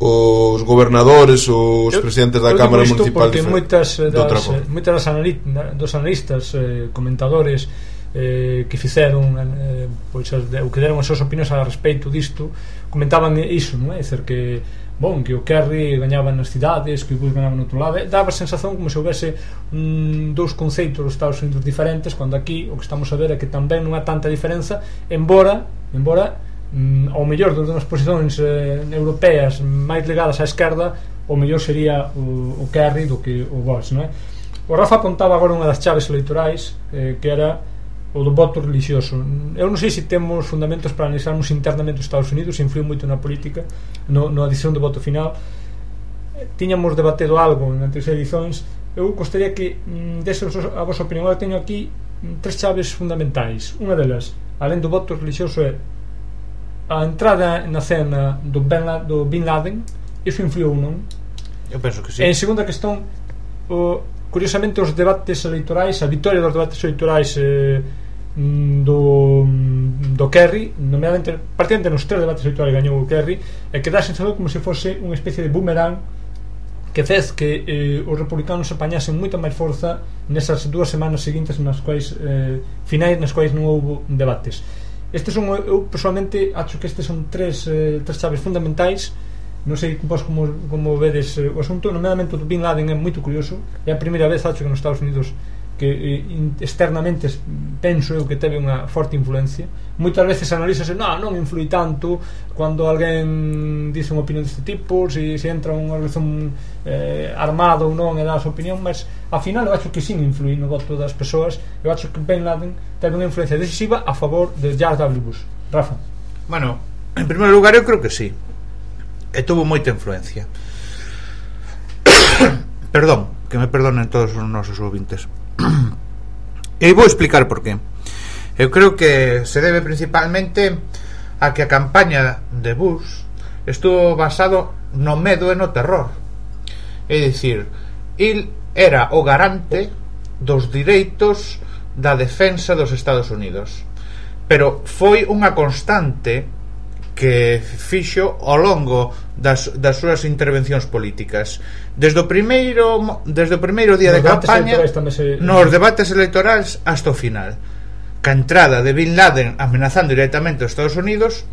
os gobernadores, os eu, presidentes da Cámara Municipal, porque moitas das, moitas das analit, dos analistas, eh, comentadores eh, que fixeron eh, pois, o que deron as súas opinións a respeito disto, comentaban iso, non é? É dizer, que bon, que o Kerry gañaba nas cidades, que o Bush gañaba no outro lado, daba a sensación como se houvese mm, dous conceitos dos Estados Unidos diferentes, cando aquí o que estamos a ver é que tamén non há tanta diferenza, embora embora mm, ao mellor das unhas posicións eh, europeas máis ligadas á esquerda, o mellor sería o, o Kerry do que o Bush, non é? O Rafa apontaba agora unha das chaves eleitorais, eh, que era o do voto religioso. Eu non sei se temos fundamentos para analizarmos internamente os Estados Unidos, se influiu moito na política, no, na decisión do voto final. Tiñamos debatido algo en anteriores edicións. Eu gostaría que mm, dese a vosa opinión. Eu teño aquí mm, tres chaves fundamentais. Unha delas, alén do voto religioso, é a entrada na cena do Ben, do Bin Laden. Iso influiu, non? Eu penso que sí. En segunda cuestión, o, curiosamente os debates eleitorais, a victoria dos debates eleitorais eh, do, do Kerry, nomeadamente particularmente nos tres debates eleitorais gañou o Kerry, e que dá a sensación como se fose unha especie de boomerang que fez que eh, os republicanos apañasen moita máis forza nesas dúas semanas seguintes nas quais eh, finais nas quais non houbo debates. Estes son, eu personalmente acho que estes son tres, eh, tres chaves fundamentais. Non sei vos como, como vedes eh, o asunto. Nomeadamente o Bin Laden é moito curioso, é a primeira vez acho que nos Estados Unidos que eh, externamente penso eu que teve unha forte influencia. Moitas veces analízase, non, non influi tanto cando alguén dice unha opinión deste tipo, se, se entra unha relación eh, armada ou non e dá a súa opinión, mas ao final eu acho que sim influi no voto das persoas. Eu acho que Bin Laden teve unha influencia decisiva a favor de George W. Bush. Rafa? Bueno, en primeiro lugar eu creo que sí, e tuvo moita influencia. Perdón, que me perdonen todos os nosos ouvintes. E vou explicar por qué. Eu creo que se debe principalmente a que a campaña de Bush estuvo basado no medo e no terror. É dicir, el era o garante dos direitos da defensa dos Estados Unidos, pero foi unha constante que fixo ao longo das, das súas intervencións políticas, desde o primeiro desde o primeiro día de campaña se... nos debates electorais hasta o final. Ca entrada de Bin Laden amenazando directamente aos Estados Unidos,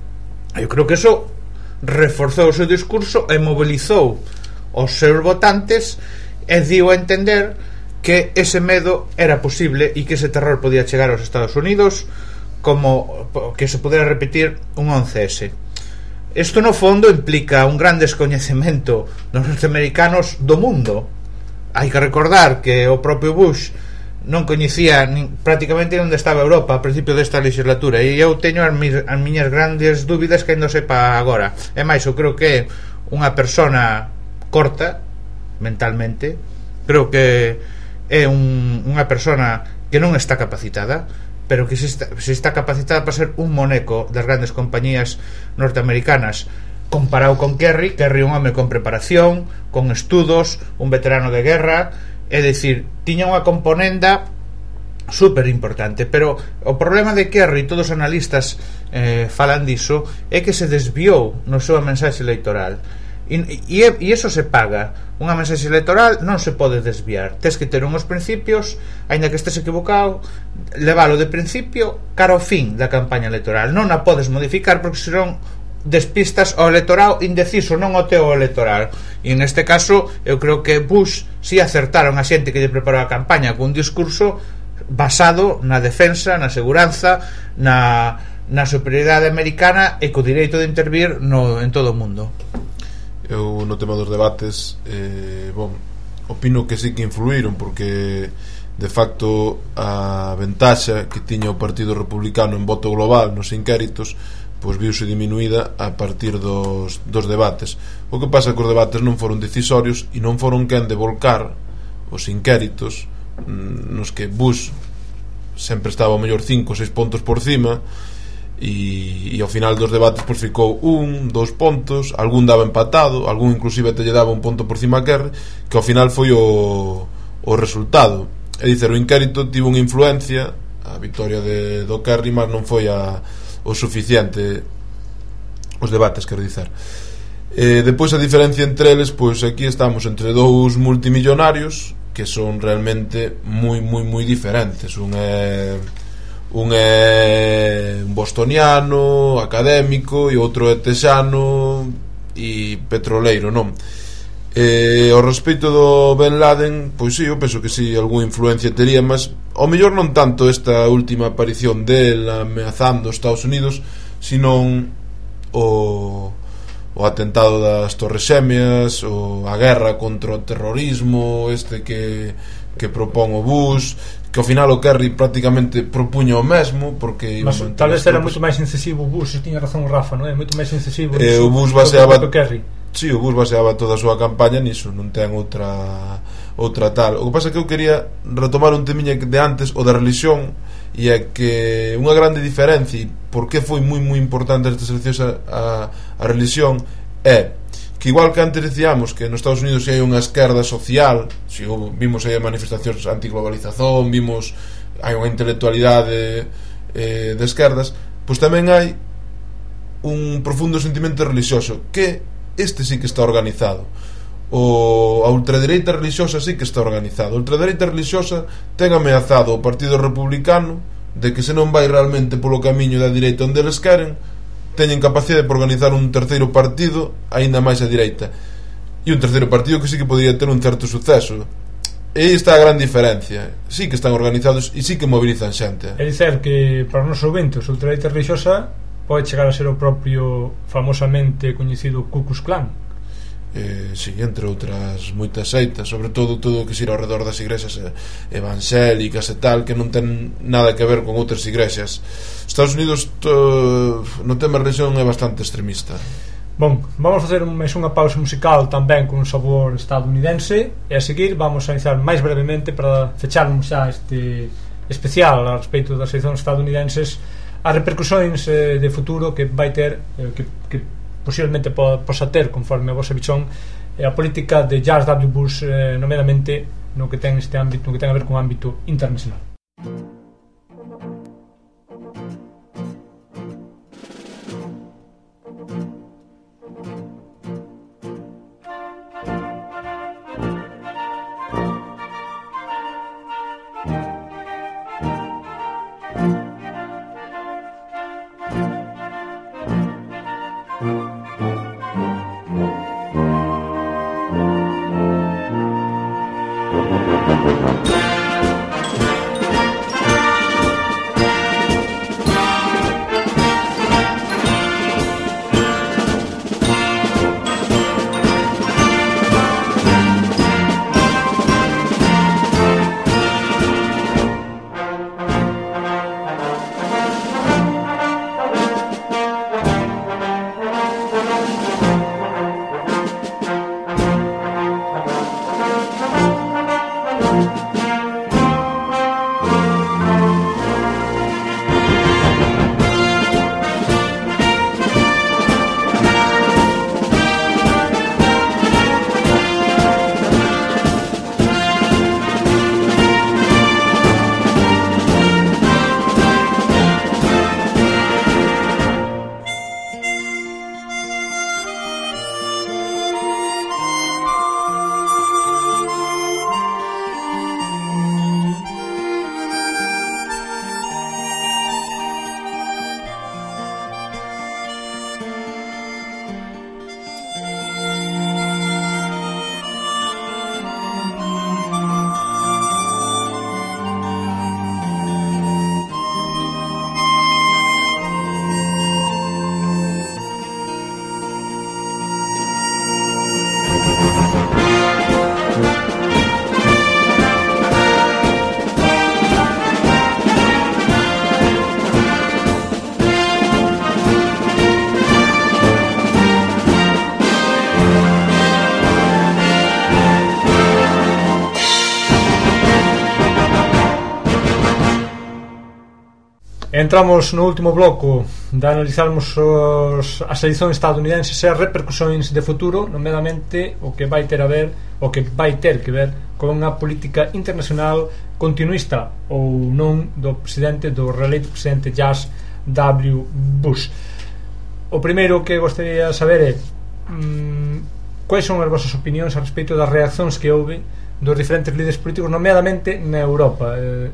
eu creo que eso reforzou o seu discurso e mobilizou os seus votantes e dio a entender que ese medo era posible e que ese terror podía chegar aos Estados Unidos, como que se pudera repetir un once ese. Isto no fondo implica un gran descoñecemento dos norteamericanos do mundo. Hai que recordar que o propio Bush non coñecía ni, prácticamente onde estaba Europa a principio desta legislatura, e eu teño as, mis, as miñas grandes dúbidas que ainda sepa agora. E máis, eu creo que unha persona corta mentalmente, creo que é un, unha persona que non está capacitada, pero que se está, se está capacitada para ser un moneco das grandes compañías norteamericanas, comparado con Kerry. Kerry é un home con preparación, con estudos, un veterano de guerra, é dicir, tiña unha componenda super importante. Pero o problema de Kerry, todos os analistas eh, falan diso, é que se desviou no seu mensaxe electoral. E, e, e eso se paga. Unha mensaxe electoral non se pode desviar. Tes que ter unhos principios, aínda que estés equivocado, levalo de principio cara ao fin da campaña electoral. Non a podes modificar porque senón despistas ao electorado indeciso, non ao teu electoral. E neste caso eu creo que Bush si acertaron a xente que lle preparou a campaña con un discurso basado na defensa, na seguranza, na, na superioridade americana e co direito de intervir no, en todo o mundo. Eu no tema dos debates eh, bon, opino que sí que influíron, porque de facto a ventaxa que tiña o Partido Republicano en voto global nos inquéritos pois viuse diminuída a partir dos, dos debates. O que pasa que os debates non foron decisorios e non foron quen de volcar os inquéritos nos que Bush sempre estaba ao mellor cinco ou seis pontos por cima, e, e ao final dos debates pois ficou un, dous pontos, algún daba empatado, algún inclusive te lle daba un ponto por cima a Kerry, que ao final foi o, o resultado. É dicir, o inquérito tivo unha influencia, a victoria de, do Kerry, mas non foi a, o suficiente os debates, quero dizer. Eh, depois a diferencia entre eles, pois aquí estamos entre dous multimillonarios que son realmente moi moi moi diferentes. Un é un é un bostoniano académico e outro é texano e petroleiro, non? Eh, ao respecto do Ben Laden, pois sí, eu penso que sí, algunha influencia tería, mas ao mellor non tanto esta última aparición del ameazando os Estados Unidos, sino o, o atentado das Torres Xémeas, ou a guerra contra o terrorismo este que, que propón o Bush, que ao final o Kerry prácticamente propuña o mesmo, porque mas tal vez era moito máis incisivo o Bush, tiña razón o Rafa, non é? Moito máis incisivo eh, o Bush baseaba o Kerry. Sí, o Bush baseaba toda a súa campaña niso, non ten outra outra tal. O que pasa é que eu quería retomar un temiña de antes, o da religión, e é que unha grande diferencia, e por que foi moi moi importante estas eleccións a, a, a religión, é que igual que antes decíamos que nos Estados Unidos hai unha esquerda social, si vimos aí manifestacións antiglobalización, vimos hai unha intelectualidade eh, de esquerdas, pois tamén hai un profundo sentimento religioso, que este sí que está organizado. O, a ultradereita religiosa sí que está organizada. A ultradereita religiosa ten ameazado o Partido Republicano de que se non vai realmente polo camiño da direita onde eles queren, teñen capacidade de organizar un terceiro partido aínda máis a direita, e un terceiro partido que sí que podría ter un certo suceso. E aí está a gran diferencia. Sí que están organizados e sí que mobilizan xente. É dicer que para os nosos ouvintes a ultradereita religiosa pode chegar a ser o propio famosamente coñecido Ku Klux Klan. Eh, sí, entre outras moitas seitas, sobre todo todo o que xira ao redor das igrexas evangélicas e tal, que non ten nada que ver con outras igrexas. Estados Unidos to, no tema religión é bastante extremista. Bon, vamos facer máis unha pausa musical tamén con un sabor estadounidense, e a seguir vamos a iniciar máis brevemente para fecharmos xa este especial a respecto das eleccións estadounidenses, as repercusións eh, de futuro que vai ter, eh, que, que posiblemente po, posa ter conforme a vosa visión, eh, a política de George W. Bush, eh, nomeadamente no que ten este ámbito, no que ten a ver con o ámbito internacional. Entramos no último bloco de analizarmos os, as eleccións estadounidenses e as repercusións de futuro, nomeadamente o que vai ter a ver, o que vai ter que ver con unha política internacional continuista ou non do presidente, do reeleito presidente George W. Bush. O primeiro que gostaría de saber é mmm, quais son as vosas opinións a respecto das reaccións que houve dos diferentes líderes políticos, nomeadamente na Europa. Eh,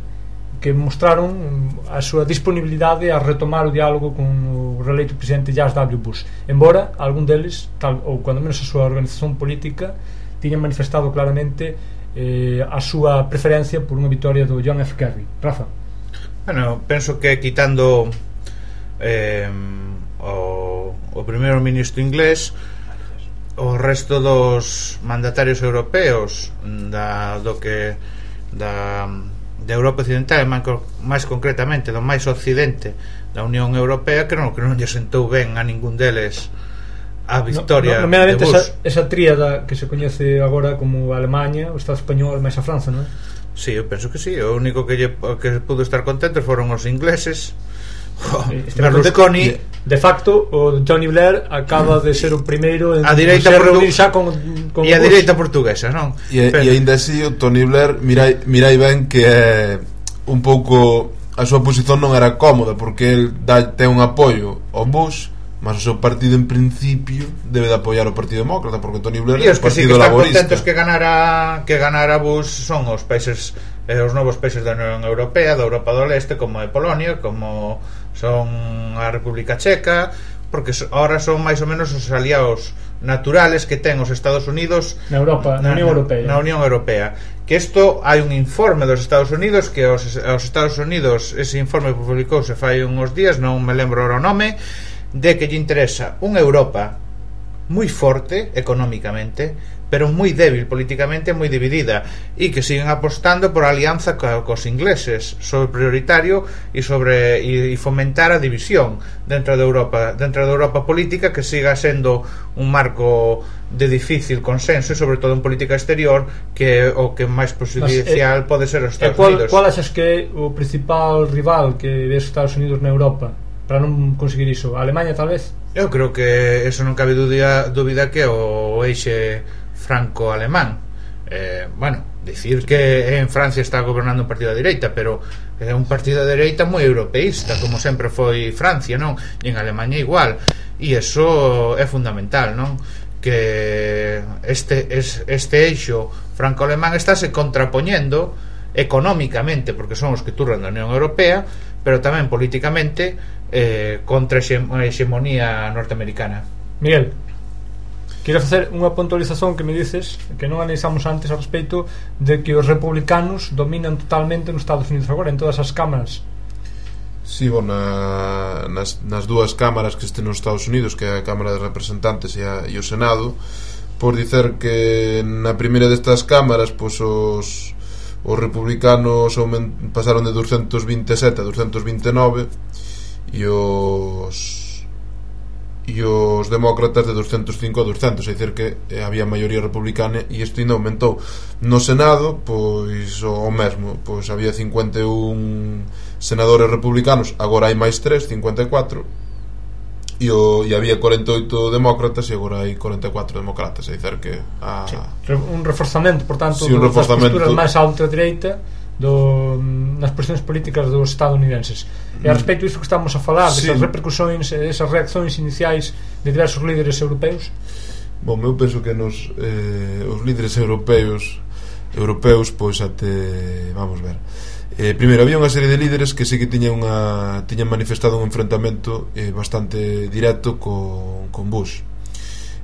que mostraron a súa disponibilidade a retomar o diálogo con o reeleito presidente George W. Bush, embora algún deles, tal, ou cando menos a súa organización política, tiñan manifestado claramente eh, a súa preferencia por unha vitoria do John F. Kerry. Rafa? Bueno, penso que quitando eh, o, o primeiro ministro inglés, o resto dos mandatarios europeos da, do que da de Europa Occidental, máis concretamente do máis occidente da Unión Europea, que non, que non lle sentou ben a ningún deles a victoria no, no, de Bush. esa, esa tríada que se coñece agora como Alemanha, o Estado español máis a Franza, non é? Sí, eu penso que sí. O único que, lle, que pudo estar contentos foron os ingleses. Oh, Berlusconi, de facto o Tony Blair acaba de ser o primeiro en a direita reunir xa con, con e a direita portuguesa, non? E, e ainda así o Tony Blair mirai, mirai ben que é un pouco a súa posición non era cómoda, porque el dá, ten un apoio ao Bush, mas o seu partido en principio debe de apoiar o Partido Demócrata, porque Tony Blair é o Partido Laborista. E os que sí que están contentos que ganara que ganara Bush son os países eh, os novos países da Unión Europea, da Europa do Leste, como é Polonia, como son a República Checa, porque ahora son máis ou menos os aliados naturales que ten os Estados Unidos na Europa, na, na Unión Europea. Na Unión Europea. Que isto hai un informe dos Estados Unidos que os, os Estados Unidos, ese informe publicouse fai uns días, non me lembro o nome, de que lle interesa unha Europa moi forte económicamente, pero moi débil políticamente, moi dividida, e que siguen apostando por alianza co, cos ingleses sobre prioritario e sobre e, e fomentar a división dentro de Europa, dentro de Europa política, que siga sendo un marco de difícil consenso, e sobre todo en política exterior, que o que máis prejudicial pode ser os Estados cual, Unidos. Qual achas que é o principal rival que ve os Estados Unidos na Europa para non conseguir iso? A Alemanha, tal vez? Eu creo que eso non cabe dúbida, dúbida que o eixe franco-alemán. Eh, bueno, decir que en Francia está gobernando un partido de dereita, pero é un partido de dereita moi europeísta, como sempre foi Francia, non? E en Alemanha igual. E eso é fundamental, non? Que este es, este eixo franco-alemán estáse contrapoñendo económicamente, porque son os que turran da Unión Europea, pero tamén políticamente eh, contra a hexemonía norteamericana. Miguel, quero facer unha puntualización que me dices que non analizamos antes a respeito de que os republicanos dominan totalmente nos Estados Unidos agora, en todas as cámaras. Si, sí, bueno, na, nas, nas dúas cámaras que estén nos Estados Unidos, que é a Cámara de Representantes e, a, e o Senado, por dicer que na primeira destas cámaras, pois os os republicanos pasaron de doscientos veintisiete a doscientos veintinueve e os e os demócratas de doscientos cinco a doscientos, é dicir que había maioría republicana, e isto ainda aumentou. No Senado, pois o mesmo, pois había cincuenta e un senadores republicanos, agora hai máis tres, cincuenta e catro, e, o, e había cuarenta e oito demócratas e agora hai cuarenta e catro demócratas, é dicir que a... sí, un reforzamento, por tanto, sí, un das reforzamento... posturas máis a ultradereita do, nas posicións políticas dos estadounidenses. E a respecto disto que estamos a falar, sí, desas repercusións, esas reaccións iniciais de diversos líderes europeos. Bom, eu penso que nos eh, os líderes europeos europeos, pois até, vamos ver, eh, primeiro había unha serie de líderes que sí que tiñan unha tiñan manifestado un enfrentamento eh, bastante directo con, con Bush.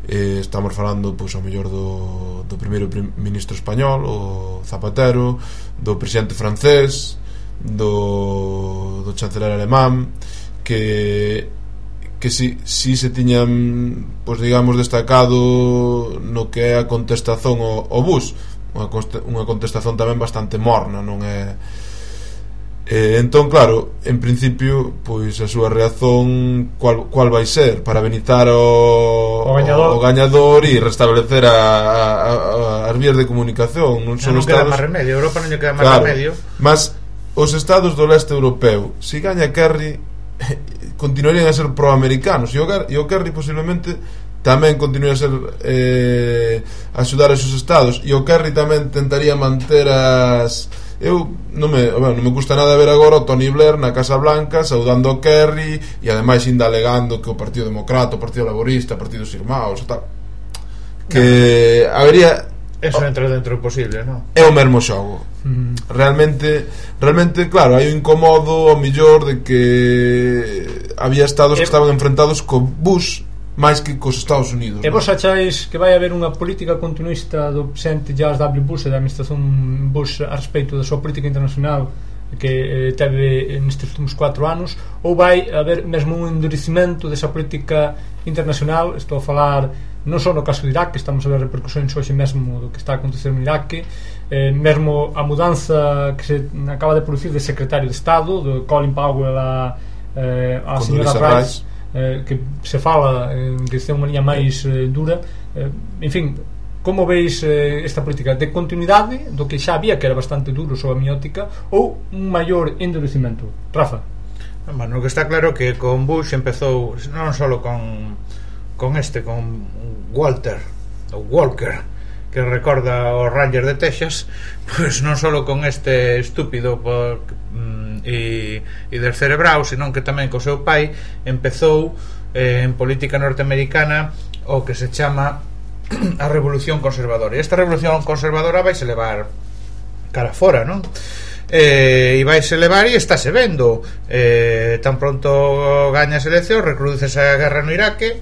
Eh, estamos falando, pois, ao mellor do, do primeiro prim- ministro español, o Zapatero, do presidente francés, do, do chanceler alemán, que que si, si se tiñan, pois, digamos, destacado no que é a contestación ao, ao Bush, unha, unha contestación tamén bastante morna, non é... Eh, entón, claro, en principio, pois a súa reacción cual, cual vai ser para benizar o, o gañador, o gañador e restablecer a, a, a, as vías de comunicación. Non son non estados... queda máis remedio, Europa non lle queda máis claro, remedio. Mas os estados do leste europeo, se si gaña Kerry, continuarían a ser proamericanos, e o, e o Kerry posiblemente tamén continúa a ser eh, axudar a esos estados, e o Kerry tamén tentaría manter as... Eu non me, bueno, non me gusta nada ver agora o Tony Blair na Casa Blanca saudando o Kerry e ademais ainda alegando que o Partido Democrata, o Partido Laborista, o Partido Irmãos e tal, que no. habería... Eso entra dentro do posible, non? É o mesmo xogo. mm. realmente realmente, claro, hai un incomodo ao millor de que había estados que estaban enfrentados co Bush máis que cos Estados Unidos. E vos acháis que vai haber unha política continuista do presidente George W. Bush e da administración Bush a respeito da súa política internacional que eh, teve nestes últimos cuatro anos, ou vai haber mesmo un endurecimento desa política internacional? Estou a falar non só no caso de Irak, que estamos a ver repercusións hoxe mesmo do que está a acontecer no Irak, eh, mesmo a mudanza que se acaba de producir de secretario de Estado, do Colin Powell a, eh, a señora Rice, eh, que se fala eh, que ten unha liña máis eh, dura, eh, en fin, como veis eh, esta política de continuidade do que xa había, que era bastante duro sobre a miótica, ou un maior endurecimento? Rafa? Bueno, o que está claro que con Bush empezou non só con con este, con Walter ou Walker, que recorda o Ranger de Texas, pois non só con este estúpido por, mm, e, e descerebrado, senón que tamén co seu pai empezou eh, en política norteamericana o que se chama a revolución conservadora. E esta revolución conservadora vai se levar cara fora, non? Eh, e vai se levar e estáse vendo, eh, tan pronto gaña as eleccións, recrudece a guerra no Iraque,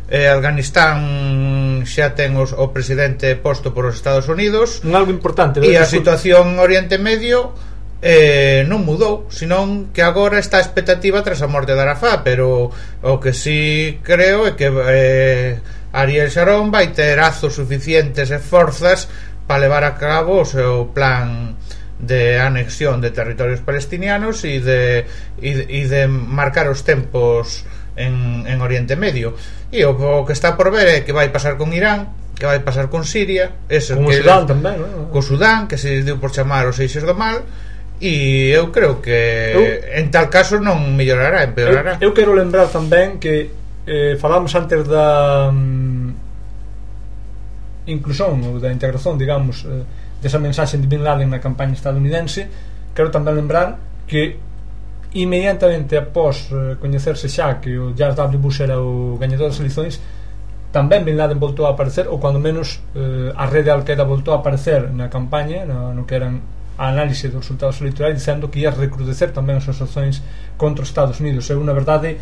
eh, Afganistán xa ten os, o presidente posto por os Estados Unidos, un algo importante, e a situación en Oriente Medio eh, non mudou, senón que agora está a expectativa tras a morte de Arafat, pero o que sí creo é que eh, Ariel Sharon vai ter azos suficientes e forzas para levar a cabo o seu plan de anexión de territorios palestinianos e de, e de, e de marcar os tempos en, en Oriente Medio. E o, o que está por ver é que vai pasar con Irán, que vai pasar con Siria, ese con que, Sudán tamén, non? Co Sudán, que se deu por chamar os eixes do mal. E eu creo que eu, en tal caso non mellorará, empeorará. Eu, eu quero lembrar tamén que eh, falamos antes da um, inclusión ou da integración, digamos, eh, desa mensaxe de Bin Laden na campaña estadounidense. Quero tamén lembrar que inmediatamente após eh, coñecerse xa que o George W. Bush era o gañador das eleições, tamén Bin Laden voltou a aparecer, ou cando menos eh, a rede Al-Qaeda voltou a aparecer na campaña, no, no que eran a análise dos resultados electorais, dicendo que ia recrudecer tamén as suas ações contra os Estados Unidos. É unha verdade,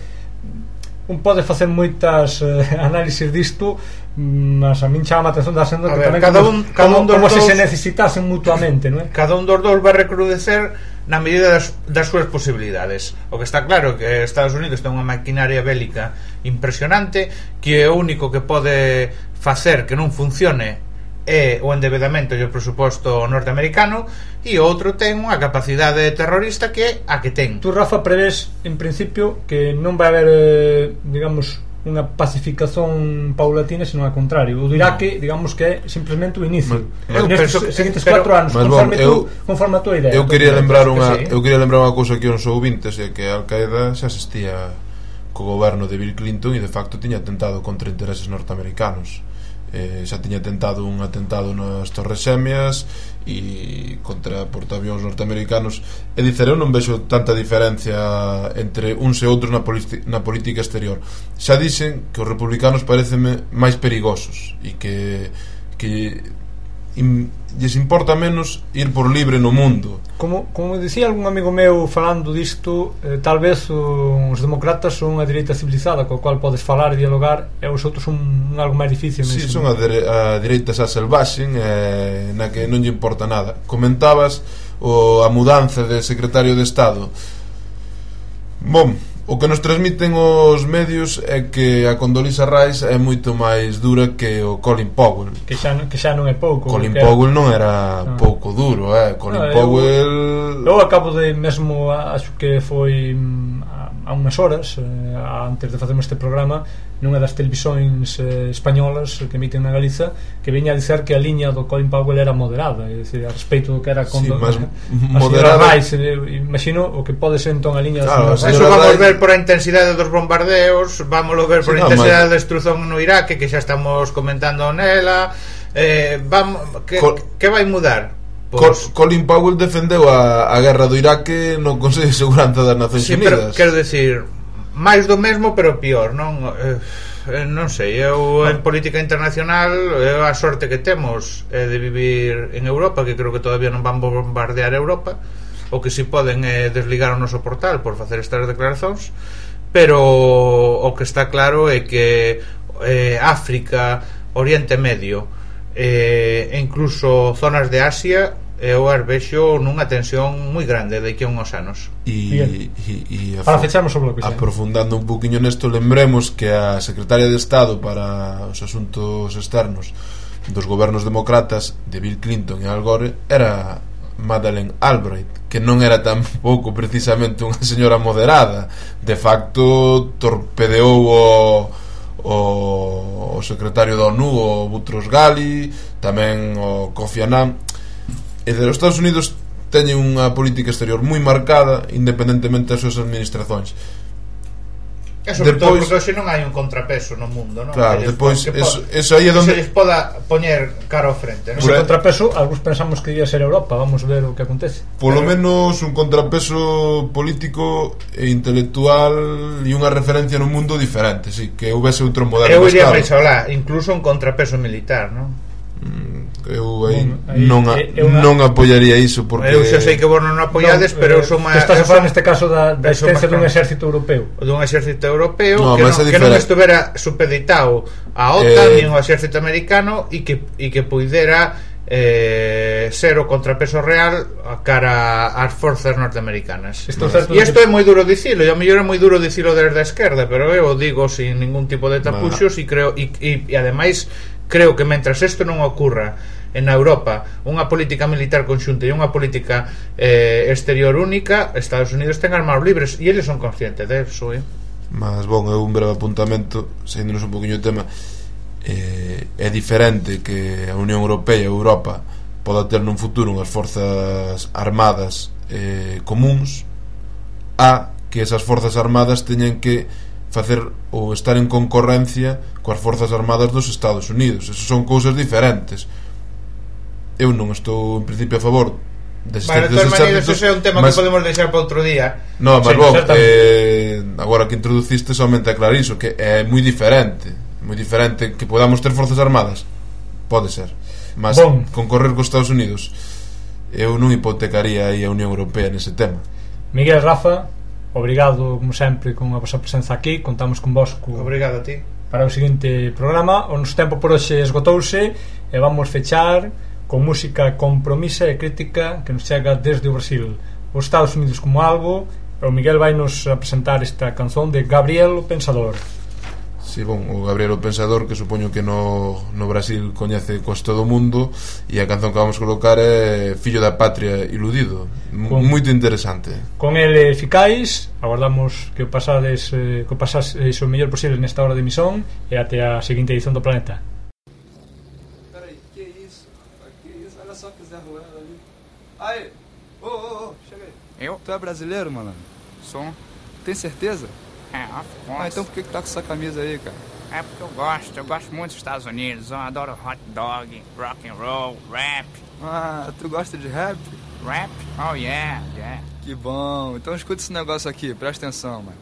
un pode facer moitas eh, análises disto, mas a min chama a atención da sendo que ver, tamén cada como, un, cada como, un dos como dos, se se necesitasen mutuamente, non é? Cada un dos dous vai recrudecer na medida das, das súas posibilidades. O que está claro é que Estados Unidos ten unha maquinaria bélica impresionante, que o único que pode facer que non funcione é o endebedamento e o presuposto norteamericano, e o outro ten unha capacidade terrorista que é a que ten. Tú, Rafa, prevés en principio que non vai haber eh, digamos unha pacificación paulatina, senón ao contrario. O do Iraque, digamos que é simplemente o inicio. Eu nestes penso, seguintes pero, cuatro anos, conforme, bon, eu, tú, conforme a tua idea. Eu quería lembrar unha, sí. eu quería lembrar unha cousa que os ouvintes, é que a Al-Qaeda xa asistía co goberno de Bill Clinton e de facto tiña atentado contra intereses norteamericanos. Eh, xa tiña tentado un atentado nas Torres Xemias e contra portaavións norteamericanos. É dicir, eu non vexo tanta diferencia entre uns e outros na, na política exterior. Xa dixen que os republicanos pareceme máis perigosos e que, que im, lles importa menos ir por libre no mundo. Como, como dicía algún amigo meu falando disto, eh, tal vez os demócratas son a direita civilizada co cual podes falar e dialogar, e os outros son un algo máis difícil. Si, sí, son a, dere, a direita xa selvaxen, eh, na que non lle importa nada. Comentabas o, a mudanza de secretario de Estado. Bom, o que nos transmiten os medios é que a Condoleezza Rice é moito máis dura que o Colin Powell. Que xa, que xa non é pouco. Colin Powell non era ah. pouco duro, eh? Colin no, Powell... Eu, eu acabo de mesmo, acho que foi a, a unhas horas eh, antes de facermos este programa, nunha das televisións eh, españolas que emiten na Galiza, que viña a dizer que a liña do Colin Powell era moderada, é dicir, a respeito do que era con sí, do, mas a, moderada... a Rice, eh, imagino o que pode ser entón a liña claro, da eso vamos Rice... ver por a intensidade dos bombardeos, vámoslo ver por sí, a intensidade no, mas... da destrucción no Iraque, que xa estamos comentando nela, eh, vamos, que, Col... que vai mudar? Pues... Colin Powell defendeu a, a guerra do Iraque no Consello de Seguranza das Nacións sí, Unidas. Pero, quero decir, máis do mesmo pero pior, non? Eh, non sei, eu en política internacional eu a sorte que temos é de vivir en Europa, que creo que todavía non van bombardear Europa, o que si poden é desligar o noso portal por facer estas declaracións, pero o que está claro é que eh, África, Oriente Medio eh, e incluso zonas de Asia eu as vexo nunha tensión moi grande de que a uns anos. E, e, e para fecharmos o bloque, aprofundando un poquinho nesto, lembremos que a secretaria de Estado para os asuntos externos dos gobernos demócratas de Bill Clinton e Al Gore era Madeleine Albright, que non era tampouco precisamente unha señora moderada. De facto torpedeou o o, o secretario da ONU, o Boutros Ghali, tamén o Kofi Annan. E de os Estados Unidos teñen unha política exterior moi marcada independentemente das súas administracións. E sobre todo porque hoxe non hai un contrapeso no mundo, non? Claro, depois eso, eso aí é donde se les poda poñer cara ao frente, non? Ese contrapeso, algúns pensamos que ia ser Europa. Vamos ver o que acontece. Polo menos un contrapeso político e intelectual e unha referencia no mundo diferente, sí, que houvese outro modelo. Eu iría máis alá, incluso un contrapeso militar, non? Eu aí non, a, non apoiaría iso porque eu xa sei que vos non apoiades, no, pero eu son máis, que estás a falar neste caso da, da existencia dun exército europeo, dun exército europeo no, que, non, que non estuvera supeditado a OTAN eh, nin ao exército americano e que, e que puidera eh, ser o contrapeso real a cara ás forzas norteamericanas. E isto é moi duro dicilo, e ao mellor é moi duro dicilo desde a esquerda, pero eu o digo sin ningún tipo de tapuxos e creo e, e, e ademais creo que mentras isto non ocurra en Europa, unha política militar conxunta e unha política eh, exterior única, Estados Unidos ten armas libres e eles son conscientes de eso, eh? Mas, bon, é un breve apuntamento, saindo-nos un poquinho o tema. eh, É diferente que a Unión Europea e a Europa poda ter nun futuro unhas forzas armadas eh, comuns, a que esas forzas armadas teñen que facer ou estar en concorrencia coas forzas armadas dos Estados Unidos. Esas son cousas diferentes. Eu non estou en principio a favor de vale, de todas maneiras, ese é un tema mas, que podemos deixar para outro día. No, mas sí, bon, eh, agora que introduciste somente aclarar iso, que é moi diferente moi diferente que podamos ter forzas armadas, pode ser, mas bon, concorrer cos Estados Unidos eu non hipotecaría aí a Unión Europea nese tema. Miguel, Rafa, obrigado como sempre con a vosa presenza aquí. Contamos con vos co... Obrigado a ti para o seguinte programa. O noso tempo por hoxe esgotouse e vamos fechar con música compromisa e crítica que nos chega desde o Brasil, os Estados Unidos como algo. O Miguel vai nos presentar esta canción de Gabriel o Pensador. Sí, bon, o Gabriel o Pensador, que supoño que no, no Brasil coñece cos todo o mundo, e a canción que vamos colocar é Fillo da Patria Iludido, con, moito interesante. Con ele ficais, agardamos que o pasades eh, que o pasaseis o mellor posible nesta hora de emisión e até a seguinte edición do Planeta. Aí, ô, ô, ô, chega aí. Eu? Tu é brasileiro, malandro? Sou. Tem certeza? É, of course. Ah, então por que que tá com essa camisa aí, cara? É porque eu gosto, eu gosto muito dos Estados Unidos. Eu adoro hot dog, rock and roll, rap. Ah, tu gosta de rap? Rap? Oh yeah, yeah. Que bom, então escuta esse negócio aqui, presta atenção, mano.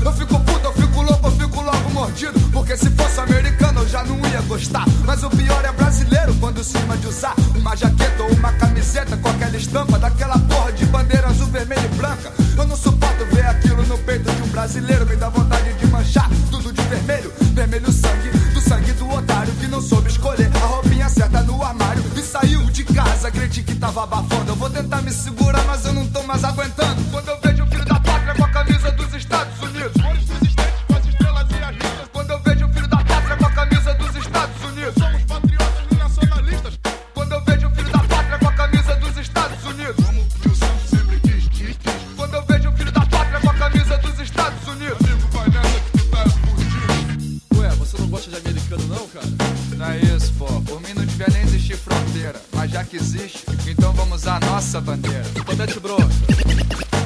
Eu fico puto, eu fico louco, eu fico logo mordido. Porque se fosse americano eu já não ia gostar. Mas o pior é brasileiro quando cisma de usar uma jaqueta ou uma camiseta com aquela estampa daquela porra de bandeira azul, vermelha e branca. Eu não suporto ver aquilo no peito de um brasileiro. Me dá vontade de manchar tudo de vermelho. Vermelho sangue, do sangue do otário que não soube escolher a roupinha certa no armário e saiu de casa, acredite que tava abafando. Eu vou tentar me segurar, mas eu não tô mais aguentando. Quando eu vejo o filho da pátria com a camisa dos Estados Unidos, cores dos estados com as estrelas e as listas. Quando eu vejo o filho da pátria com a camisa dos Estados Unidos, somos patriotas e nacionalistas. Quando eu vejo o filho da pátria com a camisa dos Estados Unidos, como o Santos sempre quis, quis, quis. Quando eu vejo o filho da pátria com a camisa dos Estados Unidos, amigo, vai nessa que tu tá fugido. Ué, você não gosta de americano não, cara? Não é isso, pô. Por mim não devia nem existir fronteira, mas já que existe, então vamos usar a nossa bandeira. Comandante Bronca.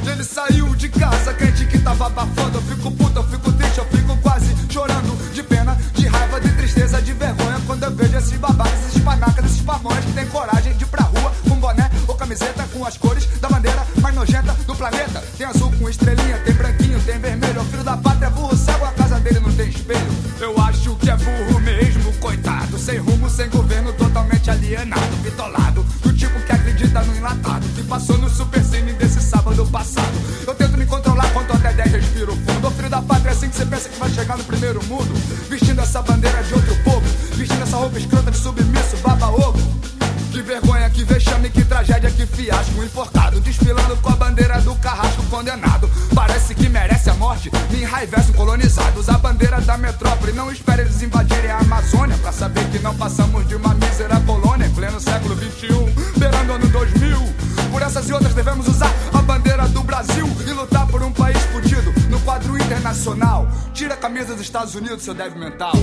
E ele saiu de casa, crente que tava abafando. Eu fico puto, eu fico triste, eu fico quase chorando. De pena, de raiva, de tristeza, de vergonha. Quando eu vejo esses babacas, esses panacas, esses pamonhas que tem coragem de ir pra rua com boné ou camiseta com as cores da bandeira mais nojenta do planeta. Tem azul com estrelinha, tem branquinho, tem vermelho. O filho da pátria, burro cego, a casa dele não tem espelho. Eu acho que é burro mesmo, coitado. Sem rumo, sem governo, totalmente alienado, bitolado. Do tipo que acredita no enlatado, que passou no supercine desse sábado passado. Eu tento me controlar, conto até dez, respiro fundo. Ô filho da pátria, assim que você pensa que vai chegar no primeiro mundo, vestindo essa bandeira de outro povo, vestindo essa roupa escrota de submisso, baba-ovo. Que vergonha, que vexame, que tragédia, que fiasco. Enforcado, desfilando com a bandeira do carrasco condenado. Parece que merece a morte, me enraivece um colonizado. Usa a bandeira da metrópole, não espere eles invadirem a Amazônia, pra saber que não passamos de uma mísera colônia em pleno século vinte e um, beirando ano dois mil. Por essas e outras devemos usar a bandeira do Brasil e lutar por um país fudido no quadro internacional. Tira a camisa dos Estados Unidos, seu débil mental.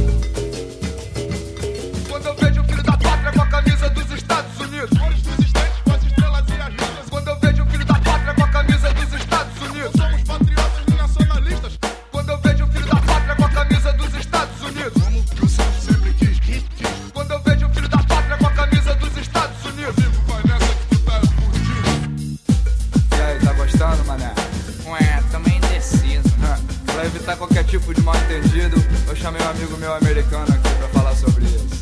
Quando eu vejo o filho da pátria com a camisa dos Estados Unidos, cores dos estados com as estrelas e as letras. Quando eu vejo o filho da pátria com a camisa dos Estados Unidos, somos patriotas e nacionalistas. Quando eu vejo o filho da pátria com a camisa dos Estados Unidos, como que o Santos sempre quis, quis, quis. Quando eu vejo o filho da pátria com a camisa dos Estados Unidos, eu vivo, vai nessa que tu tá fudido. E aí, tá gostando, mané? Ué, também indeciso. Pra evitar qualquer tipo de mal entendido, eu chamei um amigo meu americano aqui pra falar sobre isso.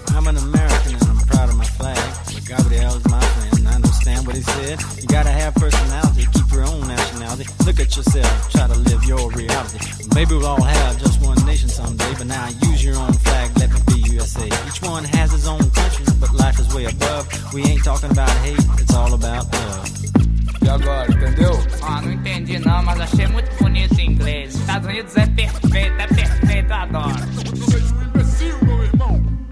I'm an American and I'm proud of my flag. But Gabriel is my friend, I understand what he said. You gotta have personality, keep your own nationality. Look at yourself, try to live your reality. Maybe we'll all have just one nation someday, but now use your own flag, let me be U S A. Each one has his own country, but life is way above. We ain't talking about hate, it's all about love. E agora, entendeu? Ah, não entendi não, mas achei muito bonito em inglês. Estados Unidos é perfeito, é perfeito, eu adoro.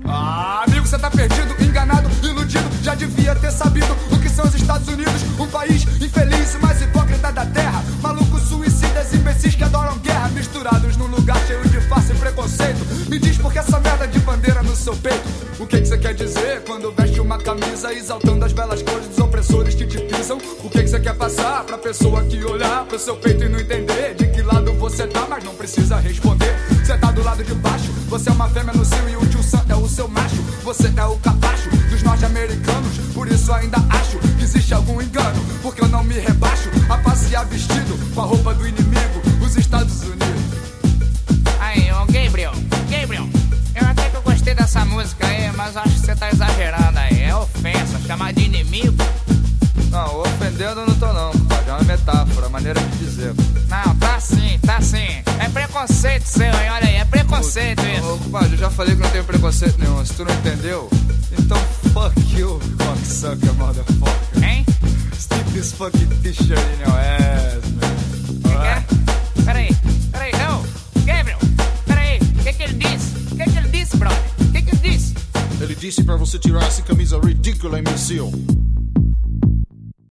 Ah, amigo, você tá perdido, enganado, iludido. Já devia ter sabido o que são os Estados Unidos. Um país infeliz, o mais hipócrita da terra. Malucos, suicidas, imbecis que adoram guerra, misturados num lugar cheio de farsa e preconceito. Me diz por que essa merda de bandeira no seu peito. O que que você quer dizer quando veste uma camisa exaltando as belas cores dos opressores que te pisam? O que que você quer passar pra pessoa que olhar pro seu peito e não entender de que lado você tá, mas não precisa responder. Você tá do lado de baixo, você é uma fêmea no cio e o tio Sam é o seu macho. Você é o capacho dos norte-americanos, por isso ainda acho que existe algum engano, porque eu não me rebaixo a passear vestido com a roupa do inimigo, os Estados Unidos. Aí, ô Gabriel, Gabriel, eu até que eu gostei dessa música aí, mas acho que você tá exagerando aí. É ofensa, chamar de inimigo. Não, ofendendo eu não tô não, compadre. É uma metáfora, maneira de dizer. Não, tá sim, tá sim. É preconceito seu, hein? Olha aí, é preconceito ô, isso. Ô, compadre, eu já falei que não tenho preconceito nenhum. Se tu não entendeu, então fuck you, cocksucker, motherfucker. Hein? Stick this fucking t-shirt in your ass, man. Que que é? Peraí, peraí, não. Gabriel, peraí, o que que ele disse? O que que ele disse, brother? O que que ele disse? Ele disse pra você tirar essa camisa ridícula, imbecil.